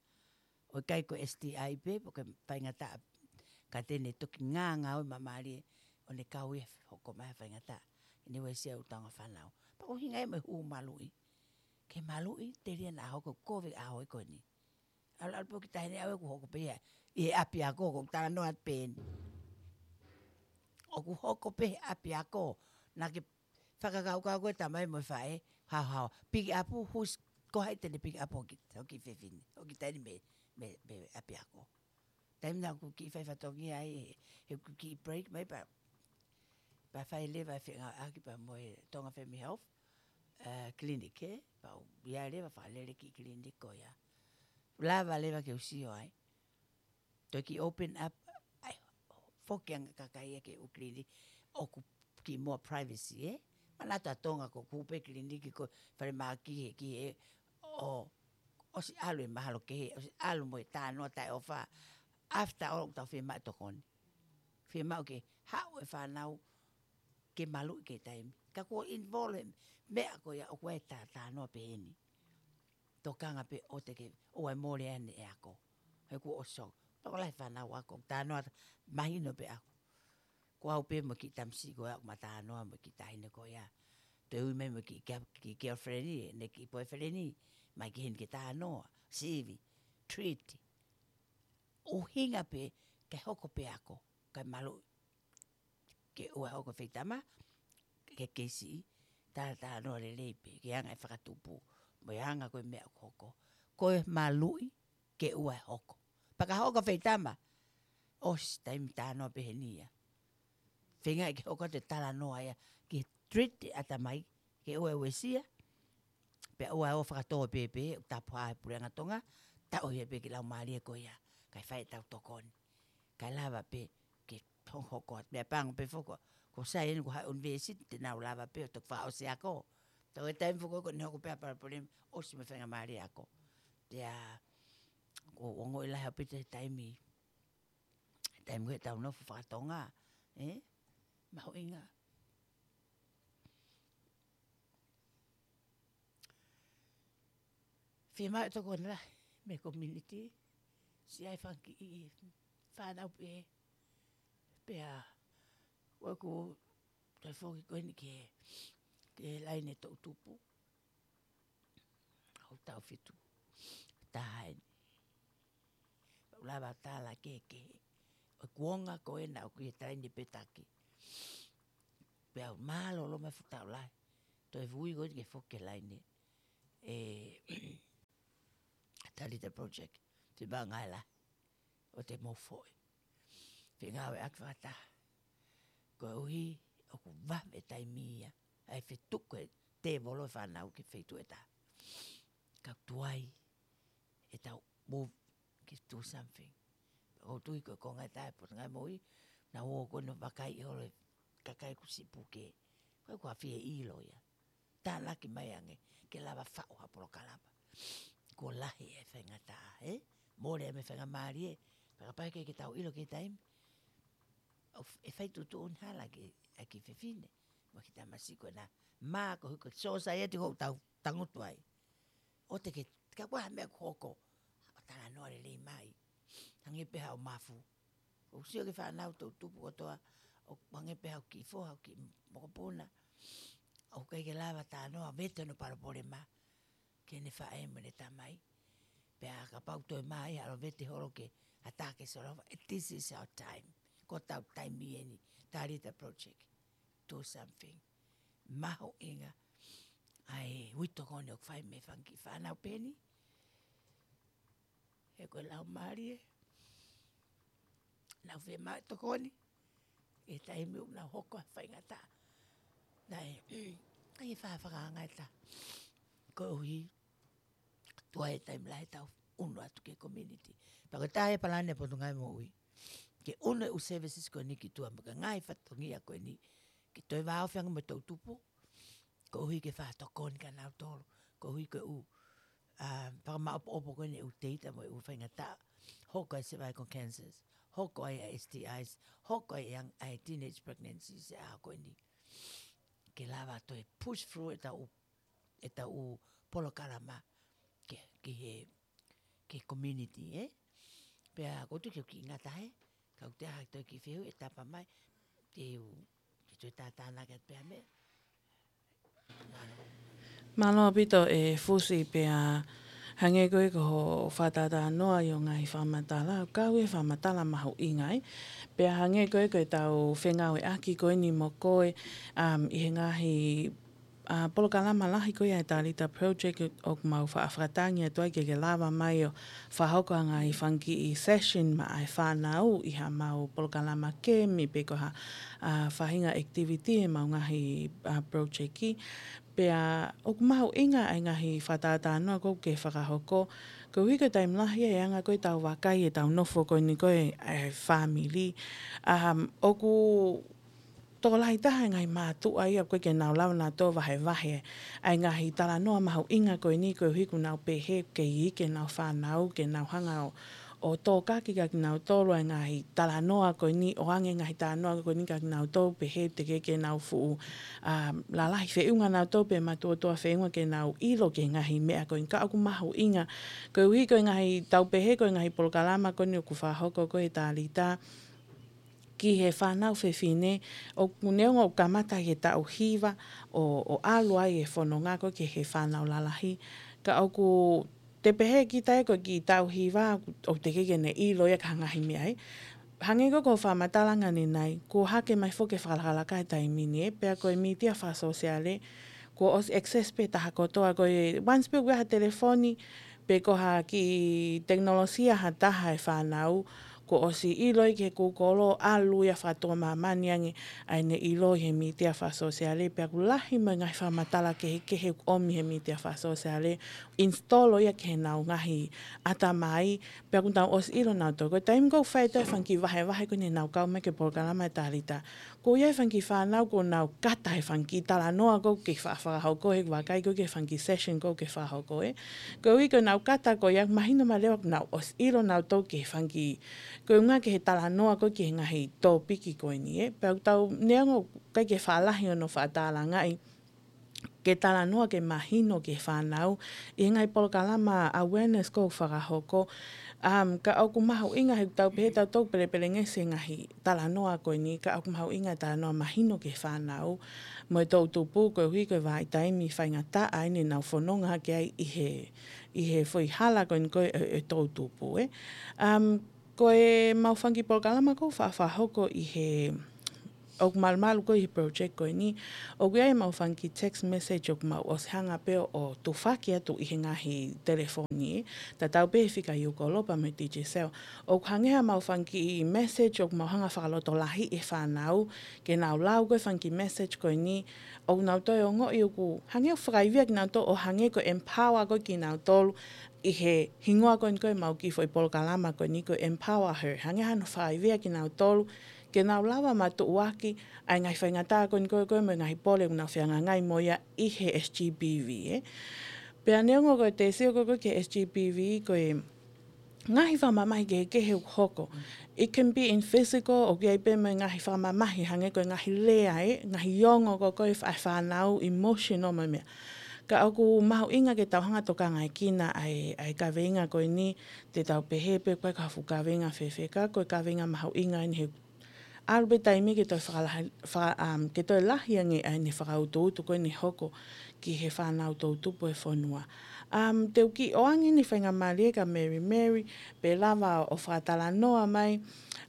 ʻOku ʻikai ko e S T I pē, pe ko e faingataʻa, ka te ne toki ngāngāue māmālie, ʻo ne kau ia hoko mai ha faingataʻa. ʻI he uesia ʻū taunga fānau. Pea ko e ʻuhinga ia mo e huhu maluʻi. Ke maluʻi, telia naʻa hoko kovi ʻaho ko eni. ʻAlu, ʻalu pē ʻo kiʻi taʻahine ʻaʻau ʻoku hoko pē ia ʻi he ʻapiako, ʻoku talanoa atu pē eni. ʻOku hoko pē he ʻapiako, naʻa ke fakakaukau ko e tamai mo e faʻē, haohaoa. Pikiʻapu, who's, ko hai te ne pikiʻapu hoʻo kiʻi, hoʻo kiʻi fefine, hoʻo kiʻi taʻahine mei, mei, mei ʻapiako. Taimi naʻa ku kiʻi fai fatongia ai, he, he ku kiʻi break mai pea, pea fai leva e feʻunga ʻaki pea mo e Tonga Family Health, eh, Clinic, he? Pea u ʻi ai leva fakalele kiʻi clinic ko ia. Lava leva ke u sio ai. Toe kiʻi open up, foki ange kakai ia ki he ʻū kiliniki ʻoku kiʻi more privacy, ē? Manatu ʻa Tonga ko e ʻū kiʻi kiliniki ko e falemahaki he ki he ʻo, ʻosi ʻalu e mahalo kehe, ʻosi ʻalu mo e talanoa taʻeʻofa. After all, ʻoku tau fiemaʻu e tokoni. Fiemaʻu ke haʻu e fānau ke maluʻi ki he taimi. Ka kuo involve he meʻa ko ia ʻoku ʻi ai e ta-, talanoa pehē ni. Tokanga pē ʻoua te ke, ʻoua ʻe mole ʻene ako. He kuo ʻosi. Tokolahi e fānau ako, talanoa mahino pē ako. Ko au pē mo e kiʻi tamasiʻi ko ia ʻoku ma talanoa mo e kiʻi taʻahine ko ia. Toe ui mai mo e kiʻi, kiʻi, kiʻi girlfriend ē, ʻene kiʻi boyfriend ē, mai ki heni ke talanoa, sivi, treat. ʻUhinga pē, ke hoko pē ako, kae maluʻi. Ke ʻoua ʻe hoko e feitama, ke kei siʻi, ta, talanoa lelei pē, ke anga e fakatupu, mo e anga ko e meʻa ʻoku hoko. Ko e maluʻi, ke ʻoua ʻe hoko. Pea ka hoko e feitama, ʻosi taimi talanoa pehē ni ia. Feinga ke hoko atu e talanoa ia, ke treat e ʻatamai, ke ʻoua ʻe uesia, pea ʻoua ʻe ō fakatō pēpē, ʻoku tapu ai e puleʻanga Tonga, tau ʻohie pē ki he laumālie ko ia, kae fai ʻetau tokoni. Kae lava pē, ke hoko, hoko atu. Meʻapango pē foki, ko e sai eni ko e hā e university, te nau lava pē, ʻo toki fakaʻosi ako. Tau e taimi foki ko eni hoko pē ʻa e palopalema, ʻosi mo e faingamālie ako. Pea, ko e ongoʻi lahi ʻaupito he taimi, taimi ko ē ʻetau nofo fakatonga, ē? Mahuʻinga. Fiemaʻu e tokoni lahi mei he community, siʻi ʻa e fanga kiʻi fānau pē, pea, ʻoku, toe foki ko eni ki he, ki he laine toʻutupu. ʻOku tau fitu taha eni. Pea u lava tala kehekehe. ʻOku ʻi ai e konga ko ena ʻoku ʻi ai e laine pē taki. Pea u mālōlō mai fuʻu tau lahi. Toe vui ko eni ke foki ki he laine. ʻE, Talita Project. Te banga e lahi. ʻO te mou foʻi. Fengāueʻaki fakataha. Koeʻuhi, ʻoku vave e taimi ia. ʻA e fetuku e tēvolo e fānau ki he feituʻu ʻe taha. Ka tuai, ʻetau move ke do something. ʻOku ou tui ko e konga ʻe taha e Potungāue Moʻui, naʻa ku ō ko eni ʻo vakai holo e kakai kuo siʻi puke. Ko e kuo fie ʻilo ia. Tānaki mai ange, ke lava faʻu ha polokalama. Kuo lahi e faingataʻa, ē? Mole mo e faingamālie, ē? Pea kapau ʻe ʻikai ke tau ʻilo ki he taimi. ʻOku f-, ʻe fai tuʻutuʻuni hala ki he, ʻa e kiʻi fefine. Mo e kiʻi tamasiʻi ko ena. Mā ko e hiko, society ko ē ʻoku tau tangutu ai. ʻOua te ke, ka ko e hā e meʻa ʻoku hoko. ʻO talanoa lelei mai. Hangē pē haʻo mafu. ʻOku sio ki he fānau toʻutupu kotoa, ʻoku hangē pē haʻo kiʻi foha, haʻo kiʻi mokopuna. ʻOku ʻikai ke lava talanoa, vete hono palopalema ki heʻene faʻē mo ʻene tamai. Pea kapau toe mā ia ʻalu ʻo vete holo ki ha taha ke solova, this is our time. Ko hotau taimi eni, Talita Project. Do something. Mahuʻinga ʻa e uitokoni ʻoku fai mei he fanga kiʻi fānau pē eni. He ko e laumālie, nau fiemaʻu e tokoni, he taimi ʻoku nau hoko ai e faingataʻa. Naʻe, ʻai e fafakaʻanga ʻe taha. Koeʻuhi, tuai e taimi lahi ʻetau ʻunu atu ki he community. Pea ko e taha e palani ʻa e Potungāue Moʻui. Ke ʻunu e ʻū services ko eni ki tuʻa mo e ngaahi fatongia ko eni. Ke toe vāofi ange mo e toʻutupu. Koeʻuhi ke fakatokoni kia nautolu. Koeʻuhi ko e ʻū, ā, fakamaʻopoʻopo ko eni e ʻū data mo e ʻū faingataʻa. Hoko ai e cervical cancers. Hoko ai e S T Is. Hoko ai e ʻa e teenage pregnancies e ʻaho ko eni. Ke lava toe push through ʻetau, ʻetau polokalama ki, ki he, ki he community, ē? Pea ʻoku ou tui ke u kiʻi ngata hē, ka ʻoku toe ʻi ai ha toe kiʻi fehuʻi ʻe tapa mai, te u, te u toe tātānaki atu pē ha meʻa. Mālō. Mālō ʻaupito ʻe Fusi, pea hangē ko e ko hoʻo fakatātā noa ʻi hoʻo ngaahi fakamatala, ʻoku kau e fakamatala mahuʻinga ai. Pea hangē ko e ko ʻetau fengāueʻaki ko eni mo koe, um, ʻi he ngaahi, ā, polokalama lahi ko ia ʻa e Talita Project ʻoku mau faʻa fakatangi atu ai ke ke lava mai ʻo fakahoko ha ngaahi fanga kiʻi session maʻa e fānau ʻi haʻamau polokalama kemi pe ko ha, ā, faʻahinga activity ʻemau ngaahi, ā, project. Pea ʻoku mahuʻinga ʻa e ngaahi fakatātā noa ʻoku ke fakahoko Koeʻuhi ko e taimi lahi e anga ko ē ʻetau vakai ʻetau nofo ko eni ko e, e fāmili. Um, ʻoku tokolahi taha e ngaahi mātuʻa ia ʻoku ʻikai ke nau lava nautolu ʻo vahevahe ʻa e ngaahi talanoa mahuʻinga ko eni koeʻuhi ʻoku nau pehē ʻoku kei iiki ʻenau fānau ke nau hanga ʻo, ʻo tokaki kia kinautolu ʻa e ngaahi talanoa ko eni, ʻoange ngaahi talanoa ko eni kia kinautolu pehē teʻeki ke nau fuʻu, um, lalahi feʻunga nautolu pe matuʻotuʻa feʻunga ke nau ʻilo ki he ngaahi meʻa ko eni ka ʻoku mahuʻinga. Koeʻuhi ko e ngaahi tau pehē ko e ngaahi polokalama ko eni ʻoku fakahoko ko ē ʻe Talita ki he fānau fefine, ʻoku neongo ʻoku kamata he taʻu hiva ʻo, ʻo ʻalu ai e fononga ko ē ki he fānau lalahi. Ka ʻoku te pehē kita ē ko e kiʻi taʻu hiva ʻoku teʻeki ke ne ʻilo ia ki ha ngaahi meʻa ē. Hangē ko ʻeku fakamatala ange ʻanenai, kuo hake mai foki e fakalakalaka he taimi ni ē, pea ko e mītia fakasōsiale, kuo ʻosi access pē taha kotoa ko ē, once pē ʻoku ʻi ai ha telefoni, pe ko ha kiʻi tekinolosia ha taha e fānau, kuo ʻosi ʻilo ia ki he Google, ʻalu ia fakatuʻa māmani ange ʻa ʻene ʻilo ʻi he mītia fakasōsiale, pea ʻoku lahi mo e ngaahi fakamatala kehekehe ʻoku ʻomi he mītia fakasōsiale, install ia ki heʻenau ngaahi ʻatamai, pea ʻoku nau ʻosi ʻilo nautolu. Ko e taimi ko ē ʻoku fai atu e fanga kiʻi vahevahe ko eni ʻenau kau mai ki he polokalama ʻe Talita, ko ia e fanga kiʻi fānau ʻoku nau kata he fanga kiʻi talanoa ko ē ʻoku ke fa-, fakahoko he vakai ko ē ki he fanga kiʻi session ko ē ʻoku ke fakahoko ē. Koeʻuhi ko ʻenau kata ko ia mahino mai leva ʻoku nau ʻosi ʻilo nautolu ki he fanga kiʻi, ko e ʻuhinga ki he talanoa ko ē ki he ngaahi tōpiki ko eni ē. Pea ʻoku tau neongo ʻoku ʻikai ke faʻa lahi hono fakatālangaʻi ke talanoa ke mahino ki he fānau ʻi he ngaahi polokalama awareness ko ē ʻoku fakahoko. Um, ka ʻoku mahuʻinga he ʻoku tau pehē tautolu pelepelengesi e ngaahi talanoa ko eni, ka ʻoku mahuʻinga e talanoa mahino ki he fānau mo e toʻutupu koeʻuhi ko e vahaʻa taimi faingataʻa ʻeni ʻenau fononga hake ai ʻi he, ʻi he foʻi hala ko eni ko ē ʻo e, e toʻutupu ē. Um, ko ʻemau fanga kiʻi polokalama ko ē ʻoku fa-, fakahoko ʻi he, ʻoku malumalu ko ē ʻi he project ko eni, ʻoku ʻi ai ʻemau fanga kiʻi text message ʻoku mau ʻosi hanga pē ʻo tufaki atu ʻi he ngaahi telefoni ē. Tatau pē he fika ʻi ʻUkolopa mo e Digicel. ʻOku hangē haʻamau fanga kiʻi message ʻoku mau hanga fakalotolahiʻi e fānau ke nau lau ko ē fanga kiʻi message ko eni, ʻoku nau toe ongoʻi ʻoku hangē ʻoku fakaivia kinautolu ʻo hangē ko e empower ko ē kinautolu ʻi he hingoa ko eni ko ē ʻemau kiʻi foʻi polokalama ko eni ko e Empower Her. Hangē hano fakaivia kinautolu ke nau lava matuʻuaki ʻa e ngaahi faingataʻa ko eni ko ē ko ē mo e ngaahi pole ʻoku nau fehangahangai mo ia ʻi he S G B V ē. Pea neongo ko e te sio ko ē ko ē ki he S G B V ko e ngaahi fakamamahi kehekehe ʻoku hoko. It can be in physical, ʻoku ʻi ai pē mo e ngaahi fakamamahi hangē ko e ngaahi lea ē, ngaahi ongo ko ē ko ē ʻa e fā-, fānau, emotional mo e meʻa. Ka ʻoku mahuʻinga ke tau hanga ʻo tokangaekina ʻa e, ʻa e kaveinga ko eni, te tau pehē pē ko e ka fuʻu kaveinga fēfē ka ko e kaveinga mahuʻinga ʻeni he ʻalu pē taimi ke toe fakalahi-, faka-, um, ke toe lahi ange ʻa ʻene fakautuutu ko eni hoko ki he fānau toʻutupu e fonua. Um, te u kiʻi ʻoange ʻeni faingamālie kia Mary Mary, pe lava ʻo fakatalanoa mai.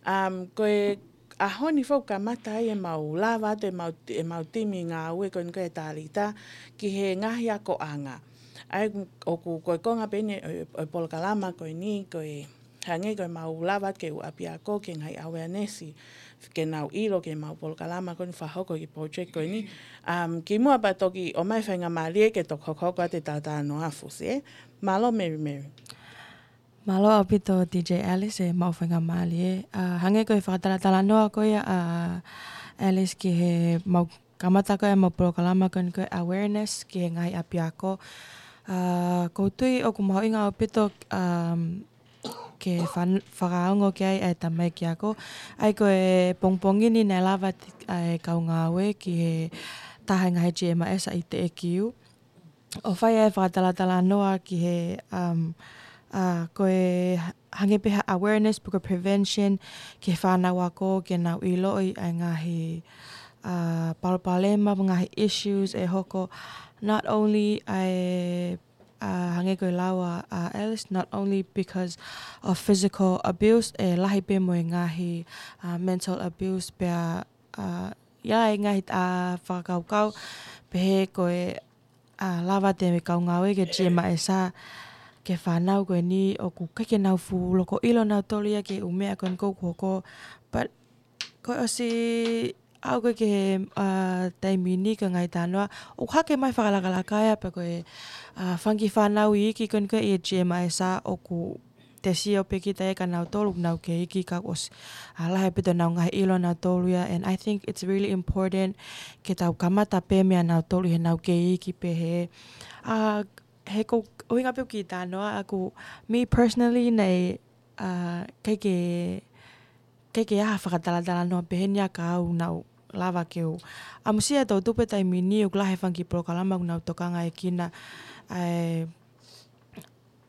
Um, ko e ʻaho ni foki ʻoku kamata ai ʻemau lava atu ʻemau, ʻemau timi ngāue ko eni ko ē ʻa Talita ki he ngaahi akoʻanga. ʻA ia ʻoku, ʻoku ko e konga pē ʻeni ʻo, ʻo e polokalama ko eni ko e hangē ko ʻemau lava ke ʻū ʻapiako ki he ngaahi awareness, ke nau ʻilo ki heʻemau polokalama ko eni fakahoko ki he project ko eni. Um, kimuʻa pea toki ʻomai faingamālie ke toki hokohoko atu e talatalanoa fusi ē. Mālō Mary Mary. Mālō ʻaupito D J Alice ʻemau faingamālie. Uh, hangē ko e fakatalatalanoa ko ia ʻa Alice ki heʻemau kamata ko ē ʻemau polokalama ko eni ko e awareness ki he ngaahi ʻapiako. Uh, ʻoku ou tui ʻoku mahuʻinga ʻaupito, um, ke fan-, fakaongo ki ai ʻa e tamaiki ako. ʻA ia ko e pongipongi ni naʻe lava atu ʻa e kau ngāue ki he taha e ngaahi G M I S ʻi Teʻekiu ʻo fai ʻa e fakatalatalanoa ki he, um, uh, ko e hangē pē ha awareness pe ko e prevention ki he fānau ako ke nau ʻiloʻi ʻa e ngaahi, uh, palopalema, ngaahi issues ʻe hoko, not only ʻa e, uh, hangē ko e lau ʻa, uh, Alice, not only because of physical abuse, ʻe lahi pē mo e ngaahi, uh, mental abuse pea, uh, ʻi ai e ngaahi, uh, fakakaukau pehē ko e, uh, lava atu e kau ngāue ki he G M I S ki he fānau ko eni ʻoku ʻikai ke nau fuʻu loko ʻilo nautolu ia ki he ʻū meʻa ko eni ʻoku hoko. But kuo ʻosi ʻAu ko e ke, ʻa, taimi ni ka ngai tanoa. ʻOku hake mai fakalakalaka ia pe ko e, ʻa, fanga kiʻi fānau iiki ko eni ko e ʻi he G M I S ʻoku te sio pē kita ia kia nautolu ʻoku nau kei iiki ka ʻosi, ʻa, lahi ʻaupito ʻenau ngaahi ʻilo nautolu ia. And I think it's really important ke tau kamata pē meia nautolu he nau kei iiki pē he, ʻa, he ko e ʻuhinga pē ʻoku kiʻi tanoa ʻaku, me personally naʻe, ʻa, ʻikai ke ʻikai ke ʻi ai ha fakatalatalanoa pehē ni ia ka ʻoku nau lava ke u ʻamusia e toʻutupu he taimi ni ʻoku lahi e fanga kiʻi polokalama ʻoku nau tokanga ʻia kinautolu ʻa e,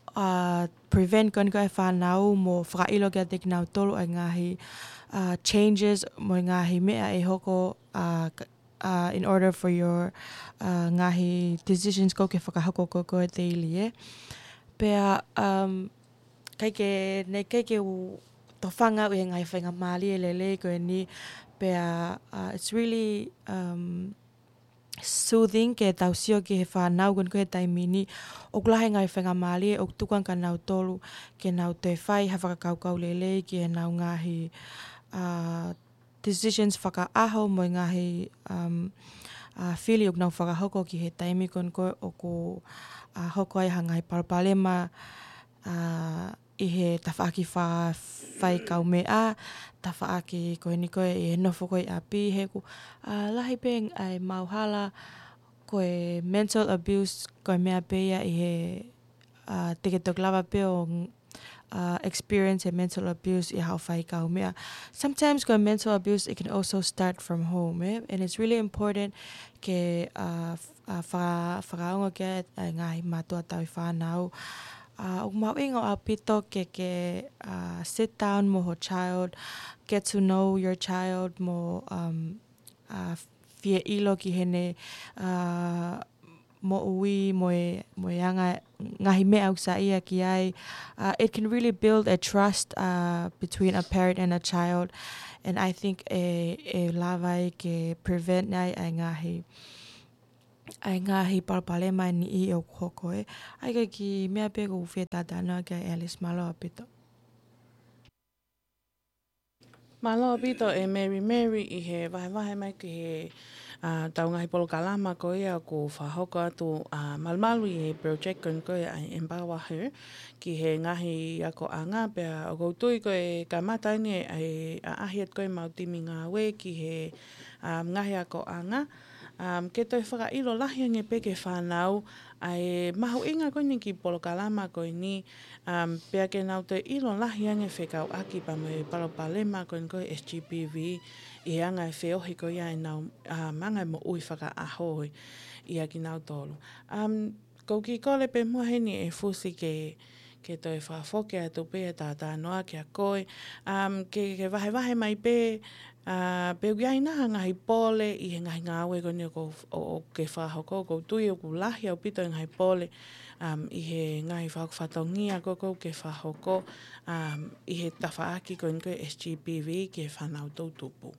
ʻa, prevent ko eni ko e fānau mo fakaʻilo kiate kinautolu ʻa e ngaahi, ʻa, changes mo e ngaahi meʻa ʻe hoko, ʻa, k-, ʻa, in order for your, ʻa, ngaahi decisions ʻoku ke fakahoko ko ē ko ē daily, ē. Pea, um, ʻikai ke, naʻe ʻikai ke u tofanga ʻi he ngaahi faingamālie lelei ko eni, pea, uh, it's really, um, soothing ke tau sio ki he fānau ko eni ko ē he taimi ni, ʻoku lahi e ngaahi faingamālie ʻoku tuku ange kia nautolu ke nau toe fai ha fakakaukau lelei ki heʻenau ngaahi, uh, decisions fakaʻaho mo e ngaahi, um, uh, fili ʻoku nau fakahoko ki he taimi ko eni ko ē ʻoku, uh, hoko ai ha ngaahi palopalema, ʻa, ʻi he tafaʻaki fa-, faikaumeʻa, tafaʻaki ko eni ko ē ʻi he nofo ko ē ʻi ʻapi, he ʻoku, ʻa, lahi pē ʻa e maʻuhala ko e mental abuse ko e meʻa pē ia ʻi he, ʻa, te ke toki lava pē ʻo, ʻa, experience e mental abuse ʻi haʻo faikaumeʻa. Sometimes ko e mental abuse, it can also start from home, eh? And it's really important ke, ʻa, f-, ʻa, fa-, fakaongo ki ai ʻa e ngaahi mātuʻa tauhi fānau. ʻA, ʻoku mahuʻinga ʻaupito ke, ke, ʻa, sit down mo ho child, get to know your child mo, um, ʻa, fie ʻilo ki heʻene, ʻa, moʻui mo e, mo e anga ngaahi meʻa ʻoku saiʻia ki ai. Uh, it can really build a trust, uh, between a parent and a child. And I think ʻe, ʻe lava ai ke prevent ai ʻa e ngaahi, ʻa e ngaahi palopalema ʻe niʻihi ʻoku hoko, ē. ʻA ia ko e kiʻi meʻa pē ʻoku ou fie talanoa ki ai Alice, mālō ʻaupito. Mālō ʻaupito ʻe Mary Mary ʻi he vahevahe mai ki he, ʻa, ʻetau ngaahi polokalama ko ia ʻoku fakahoko atu, ʻa, malumalu ʻi he project ko eni ko ia ʻa e Empower Her ki he ngaahi akoʻanga, pea ʻoku ou tui ko e kamata eni ʻa e ʻaʻahi atu ko ē ʻemau timi ngāue ki he, ʻa, ngaahi akoʻanga, ʻa, ke toe fakaʻilo lahi ange pē ki he fānau ʻa e mahuʻinga ko eni kiʻi polokalama ko eni, um, pea ke nau toe ʻilo lahi ange fekauʻaki pea mo e palopalema ko eni ko e S G B V ʻi he anga e feohi ko ia ʻenau, um, anga e moʻui fakaʻaho ʻia kinautolu. Um, ʻoku ou kiʻi kole pē muʻa heni ʻe Fusi ke, ke toe fakafoki atu pē e talanoa kia koe, um, ke, ke vahevahe mai pē, ʻa, pe ʻoku ʻi ai nai ha ngaahi pole ʻi he ngaahi ngāue ko eni ʻoku, ʻo, ʻoku ke fakahoko, ʻoku ou tui ʻoku lahi ʻaupito e ngaahi pole, um, ʻi he ngaahi fakahoko fatongia ko ē ʻoku ke fakahoko, um, ʻi he tafaʻaki ko eni ko e S G B V ki he fānau toʻutupu.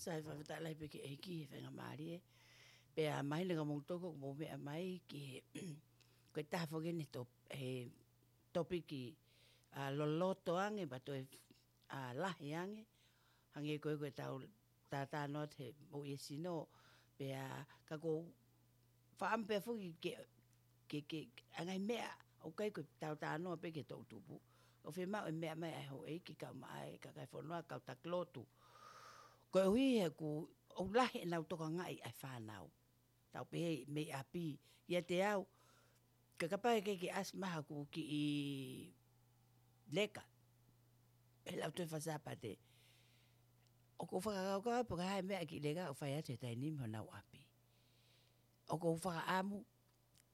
Sai, fakafetaʻi lahi pē ki he ʻEiki he faingamālie. Pea mahino kia moutolu ʻoku mou meʻa mai ki he, ko e taha foki eni top-, he topiki, ʻa, loloto ange, pea toe, ʻa, lahi ange, hangē ko ē ko ʻetau talanoa atu he moʻui e sino, pea ka ʻoku ou fakaʻamu pē foki ke, ke, ke, ʻa e ngaahi meʻa, ʻoku ʻikai ko ʻetau talanoa pē ki he toʻutupu. ʻOku fiemaʻu e meʻa mai ʻa e houʻeiki kae ʻumaʻā e kakai e fonua, kau taki lotu. Koeʻuhi he ʻoku, ʻoku lahi ʻenau tokangaʻi ʻa e fānau. Tau pehē mei ʻapi, ʻiate au, ka kapau ʻe ʻikai ke ʻasi mai haku kiʻi leka he Lautohi Fakasāpate, ʻoku ou fakakaukau pe ko e hā e meʻa kiʻi leka ʻoku fai atu he taimi ni mei honau ʻapi. ʻOku ou fakaʻamu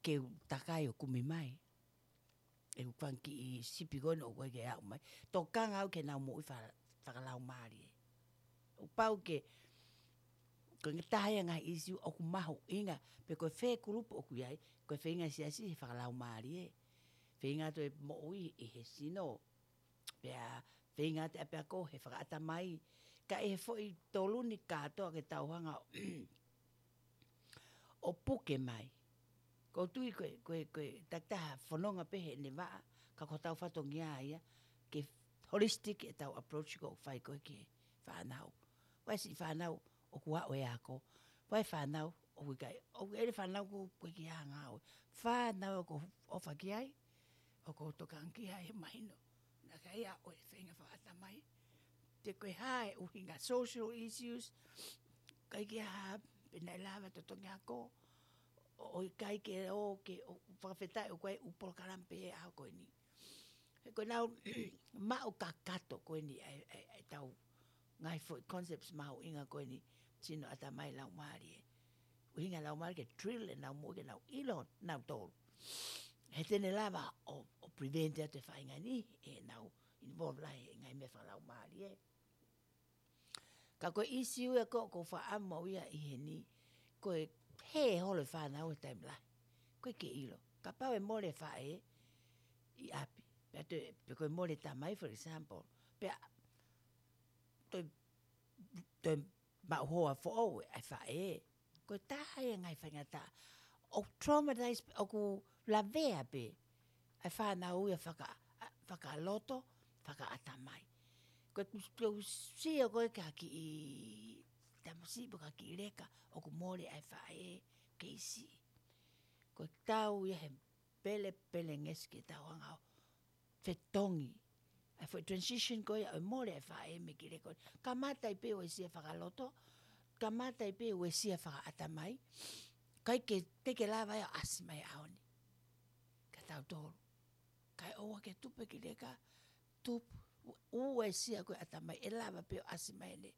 ke u takai ʻo kumi mai ʻeku fanga kiʻi sipi ko eni ʻoku ʻikai ke aʻu mai. Tokanga au ki heʻenau moʻui fa-, fakalaumālie. ʻOku pau ke, ko e taha ia e ngaahi ʻīsiu ʻoku mahuʻinga, pe ko e fē kulupu ʻoku ʻi ai, ko e feinga e siasi he fakalaumālie. Feinga atu e moʻui ʻi he sino. Pea feinga atu ʻapiako he fakaʻatamai. Ka ʻi he foʻi tolu ni kātoa ke tau hanga ʻo ʻo puke mai. ʻOku ou tui ko e, ko e, ko e takitaha fononga pē heʻene vaʻa, ka ko hotau fatongia ia, ke holistic ʻetau approach ʻoku fai ko ē ki he fānau. Vakai siʻi fānau ʻoku ʻaʻu e ako. Vakai fānau ʻoku ʻikai, ʻoku ʻi ai e fānau ʻoku ʻikai ke hanga ʻo. Fānau ʻoku ʻofa ki ai, ʻoku tokanga ki ai, mahino naʻe ʻikai ʻaʻu e feinga fakaʻatamai. Te ko e hā e ʻuhinga social issues, ʻikai ke hā pe naʻe lava totongi ako, ʻo, ʻo ʻikai ke ō ke, ʻo fakafetaʻi ʻoku ʻi ai e ʻū polokalama pē he ʻaho ko eni. He ko ʻenau maʻu kakato ko eni ʻa e, ʻa e, ʻa e tau ngaahi foʻi concepts mahuʻinga ko eni, sino, ʻatamai, laumālie. ʻUhinga laumālie ke drill ʻenau moʻui ke nau ʻilo nautolu. He te ne lava ʻo, ʻo prevent atu e faʻahinga ni, ʻenau involve lahi he ngaahi meʻa fakalaumālie. Ka ko e issue ia ko, ʻoku ou fakaʻamu au ia ʻi heni, ko e hē holo e fānau he taimi lahi. ʻOku ʻikai ke ʻilo. Kapau ʻe mole e faʻē ʻi ʻapi. Pea toe, pe ko e mole e tamai, for example. Pea toe, toe maʻu hoa foʻou ʻa e faʻē. Ko e taha ia e ngaahi faingataʻa. ʻOku traumatize, ʻoku lavea pē ʻa e fānau ia faka-, fakaloto, fakaʻatamai. Ko e, ko e sio ko ē ki ha kiʻi tamasiʻi pe ko ha kiʻi leka, ʻoku mole ʻa e faʻē, kei siʻi. Ko e tau ia he pele, pele ngesi ke tau hanga ʻo fetongi. ʻA e foʻi transition ko ia ʻo e mole ʻa e faʻē mei he kiʻi leka. Kamata ai pē ʻa e uesia fakaloto, kamata ai pē ʻa e uesia fakaʻatamai, ʻikai ke, ʻikai ke lava ia ʻo ʻasi mai he ʻaho ni kia tautolu. Kae ʻoua ke tupu e kiʻi leka, tupu, u-, uesia ko ē ʻatamai, ʻe lava pē ʻo ʻasi mai ʻene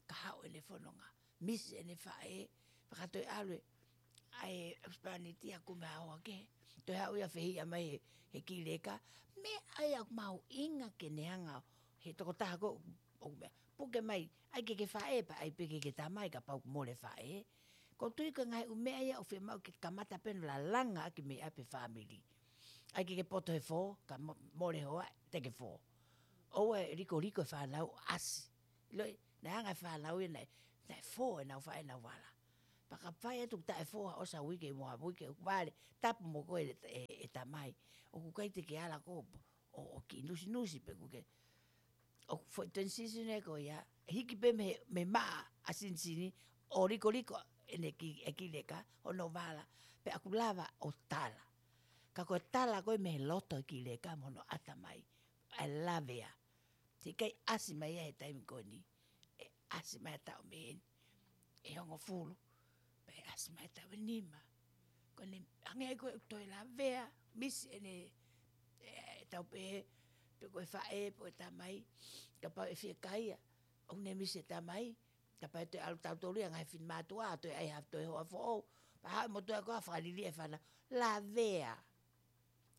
kahaʻu ʻene fononga. Misi ʻene faʻē, fakatoe ʻalu e, ʻa e husepāniti ʻo kumi ha hoa kehe. Toe haʻu ia ʻo fehiʻa mai he, he kiʻi leka. Meʻa ia ʻoku mahuʻinga ke ne hanga ʻo, he tokotaha ko ē ʻoku meʻa. Puke mai, ʻai ke ke faʻē pea ʻai pē ke ke tamai kapau ʻoku mole e faʻē. ʻOku ou tui ko e ngaahi ʻū meʻa ia ʻoku fiemaʻu ke kamata pē ʻo lalanga ʻaki mei ʻapi e fāmili. ʻAi ke ke poto he fō, ka mo-, mole e hoa, te ke fō. ʻOua ʻe likoliko e fānau ʻo ʻasi. Loi, naʻe anga e fānau ia naʻe, naʻe fō ʻenau faʻē ʻenau vala. Pea ka fai atu taʻe fō ha ʻosi ha uike mo ha uike, ʻoku vale, tapu mo koe e, e, e tamai. ʻOku ʻikai te ke ala koe ʻo, ʻo kiʻi nusinusi pē kuo ke. ʻOku foʻi transition ē ko ia, hiki pē mei, mei he maʻa ʻa Sinisini, ʻo likoliko ʻene kiʻi, e kiʻi leka, hono vala, pea ʻoku lava ʻo tala. Ka ko e tala ko ē mei he loto e kiʻi leka mo hono ʻatamai, ʻe lavea. Te ʻikai ʻasi mai ia he taimi ko eni. ʻE ʻasi mai ha taʻu mei heni ʻe hongofulu. Pea ʻe ʻasi mai ha taʻu ʻe nima. Ko ʻene hangē ko ē ʻoku toe lavea, misi ʻene, ʻe, tau pehē, pe ko e faʻē, pe ko e tamai, kapau ʻe fiekaia, ʻoku ne misi e tamai, kapau ʻe toe ʻalu tautolu ia ngaahi finemātuʻa, toe ʻai ha toe hoa foʻou, pea haʻu e motuʻa ko ē ʻo fakaliliʻa e fānau, lavea.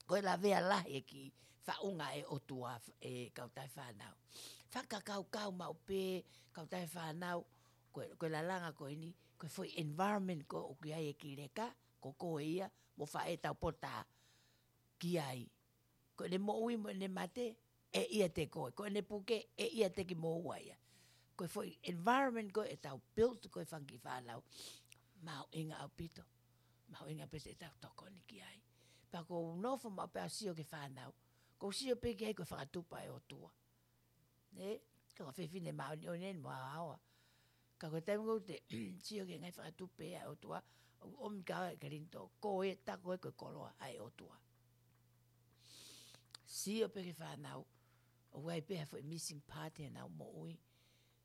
Ko e lavea lahi e kiʻi faʻunga ʻa e ʻOtua, e kautaha fānau. Fakakaukau maʻu pē, kautaha fānau, ko e, ko e lalanga ko eni, ko e foʻi environment ko ē ʻoku ʻi ai e kiʻi leka, ko koe ia, mo faʻē tau pota ki ai. Ko ʻene moʻui mo ʻene mate, ʻe ʻiate koe. Ko ʻene puke, ʻe ʻiate kimoua ia. Ko e foʻi environment ko ē ʻetau build ko ē fanga kiʻi fānau. Mahuʻinga ʻaupito. Mahuʻinga pē te tau tokoni ki ai. Pea ʻoku ou nofo maʻu pē ʻo sio ki he fānau. ʻOku ou sio pē ki ai ko e fakatupu ʻa e ʻOtua. Ē, ko e fefine māʻoniʻoni eni mo haohaoa. Ka ko e taimi ʻoku te sio ki he ngaahi fakatupu ʻa e ʻOtua, ʻoku ʻomi kia au ʻe Kolinitō, ko e taku ē ko e koloa ʻa e ʻOtua. Sio pē ki he fānau, ʻoku ʻi ai pē ha foʻi missing part ʻi heʻenau moʻui.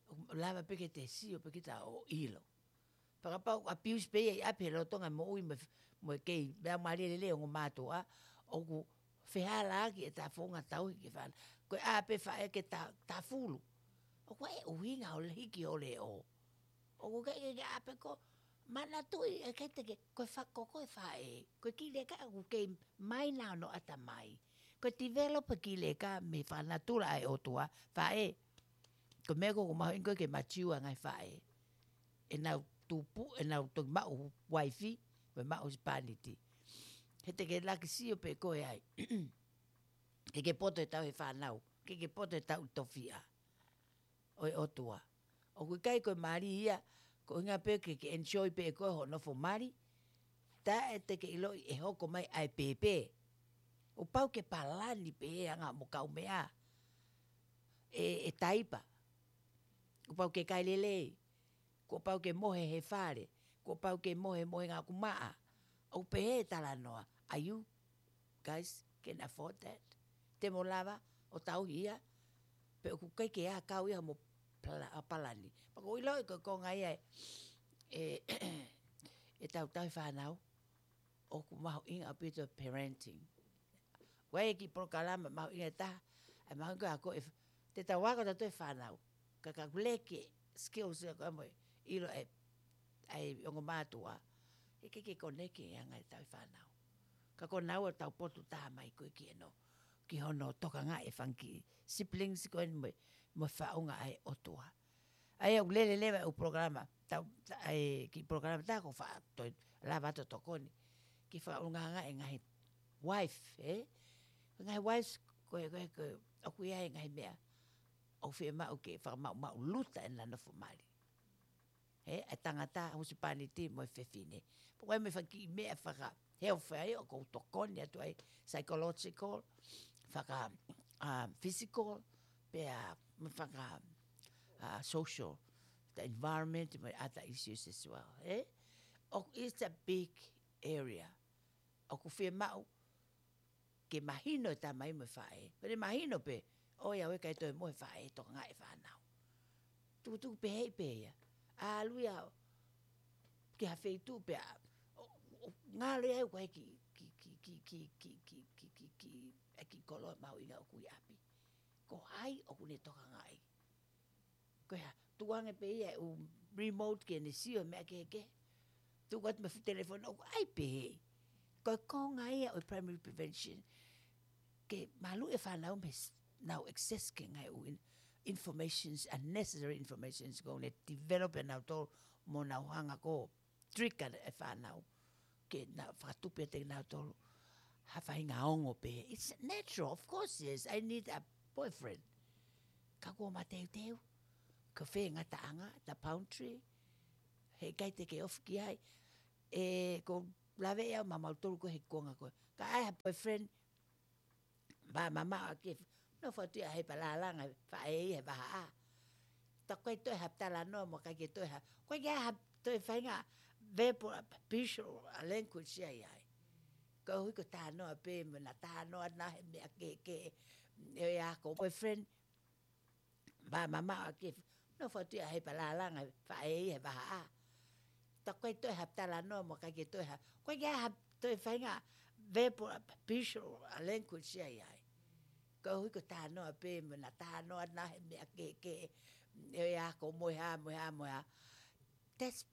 ʻOku lava pē ke te sio pē kita ʻo ʻilo. Fakapapau abuse pē ia ʻi ʻapi he lolotonga e moʻui mo, mo e kei, meʻa mālie lelei ongo mātuʻa, ʻoku fehālaaki ʻeta founga tauhi ki he fānau. Ko e ʻā pē faʻē ke ta, tafulu. ʻOku ʻi ai e ʻuhinga ʻo e hiki ʻo e leʻo. ʻOku ʻikai ke, ke ʻā pē ko, manatuʻi ʻe ʻikai te ke, ko e fa-, ko koe faʻē. Ko e kiʻi leka ʻoku kei maina hono ʻatamai. Ko e develop e kiʻi leka mei he fakanatula ʻa e ʻOtua, faʻē. Ko e meʻa ko ē ʻoku mahuʻinga ko ē ke mature e ngaahi faʻē. ʻEnau tupu, ʻenau toki maʻu uaifi, mo e maʻu husepāniti. He te ke laki sio pē koe ai. Ke ke poto e tau he fānau, ke ke poto e tau tofiʻa ʻo e ʻOtua. ʻOku ʻikai ko e mali ia, ko e ʻuhinga pē ke, ke enjoy pē ʻe koe hoʻo nofo mali, taʻe te ke ʻiloʻi ʻe hoko mai ʻa e pēpē. ʻOku pau ke palani pē he anga mo kaumeʻa. ʻE, ʻe taipa. Kuo pau ke kai lelei. Kuo pau ke mohe he fale. Kuo pau ke mohe mohenga ʻoku maʻa. ʻOku pehē e talanoa. Are you guys can afford that? Te mo lava ʻo tauhi ia? Pe ʻoku ʻikai ke ʻi ai ha kau ia mo pala-, ʻa palani. Pea ʻoku ou ʻilo ʻe ko e konga ia e, e, e tauhi fānau. ʻOku mahuʻinga ʻaupito parenting. ʻOku ʻi ai e kiʻi polokalama mahuʻinga ʻe taha, ʻa e mahuʻinga ko e, te tau ako tautolu e fānau. Ka ka leke skills ia ko e mo e ʻilo e, ʻa e ongo mātuʻa. He ʻikai ke koneke e anga e tauhi fānau. Ka ko e nau ʻo tau potu taha mai ko e ki ʻeno. Ki hono tokangaʻi e fanga kiʻi siblings ko eni mo e, mo e faʻunga ʻa e ʻOtua. ʻA ia ʻoku lele leva e ʻū polokalama, tau, ta-, ʻa e kiʻi polokalama tā ko e faʻa, toe lava atu ʻo tokoni. Ki he fakaʻulungaanga e ngaahi wife, ē? Ngaahi wives, ko e, ko e, ko e, ʻoku ʻi ai e ngaahi meʻa. ʻOku fiemaʻu ke fakamaʻumaʻuluta ʻena nofo mali. Ē, e tangata, husepāniti mo e fefine. Pea ko e mo e fanga kiʻi meʻa faka-health ai, ʻoku ou tokoni atu ai, psychological, faka, ah, physical, pea mo e faka, ah, social, the environment, mo e other issues as well, ē? ʻOku, it's a big area. ʻOku fiemaʻu ke mahino e tamai mo e faʻē. Pea ne mahino pē, ʻoiauē ʻikai toe mohe e faʻē ʻo tokangaʻi e fānau. Tukutuku pehē pē ia. ʻAlu ia ki ha feituʻu pea, ʻo, ʻo, ngalo ia ʻoku ʻi ai e kiʻi, kiʻi, kiʻi, e kiʻi koloa mahuʻinga ʻoku ʻi ʻapi. Ko hai ʻoku ne tokangaʻi? Ko e hā, tuku ange pē ia e ʻū remote ke ne sio he meʻa kehekehe. Tuku atu mo e fuʻu telefoni ʻoku ʻi ai pē. Ko e konga ia ʻo e primary prevention. Ke maluʻi e fānau mei he s-, ʻenau access ki he ngaahi ʻū in-, informations, unnecessary informations, ʻoku ne develop ʻe nautolu mo nau hanga ʻo trigger e fānau. Ke nau fakatupu ʻiate kinautolu ha faʻahinga ongo pē. It's natural, of course, yes, I need a boyfriend. Ka kuo mateuteu. Ko fē ngataʻanga, the boundary. He ʻikai te ke ofi ki ai. ʻE, ʻoku ou lave ia maʻamautolu ko e he konga ko e. Ka ʻi ai ha boyfriend, pea mamaʻo ʻaki, nofo atu ia he palalanga, faʻē ia he vahaʻa. Tā ko e toe ha talanoa mo ʻikai ke toe ha. Ko e ke ha toe faʻahinga verbal, visual language ia ʻi ai. Ko e hui ko e talanoa pē mo ʻena talanoa na he meʻa kehekehe. ʻE ia ko e boyfriend, pea mamaʻo ʻaki, nofo atu ia he palalanga, faʻē ia he vahaʻa. Tā ko e toe ha talanoa mo ʻikai ke toe ha. Ko e ke ha toe faʻahinga verbal, visual language ia ʻi ai. Ko e hui ko e talanoa pē mo ʻena talanoa na he meʻa kehekehe. ʻE ia ko e mo e hā, mo e hā, mo e hā. That's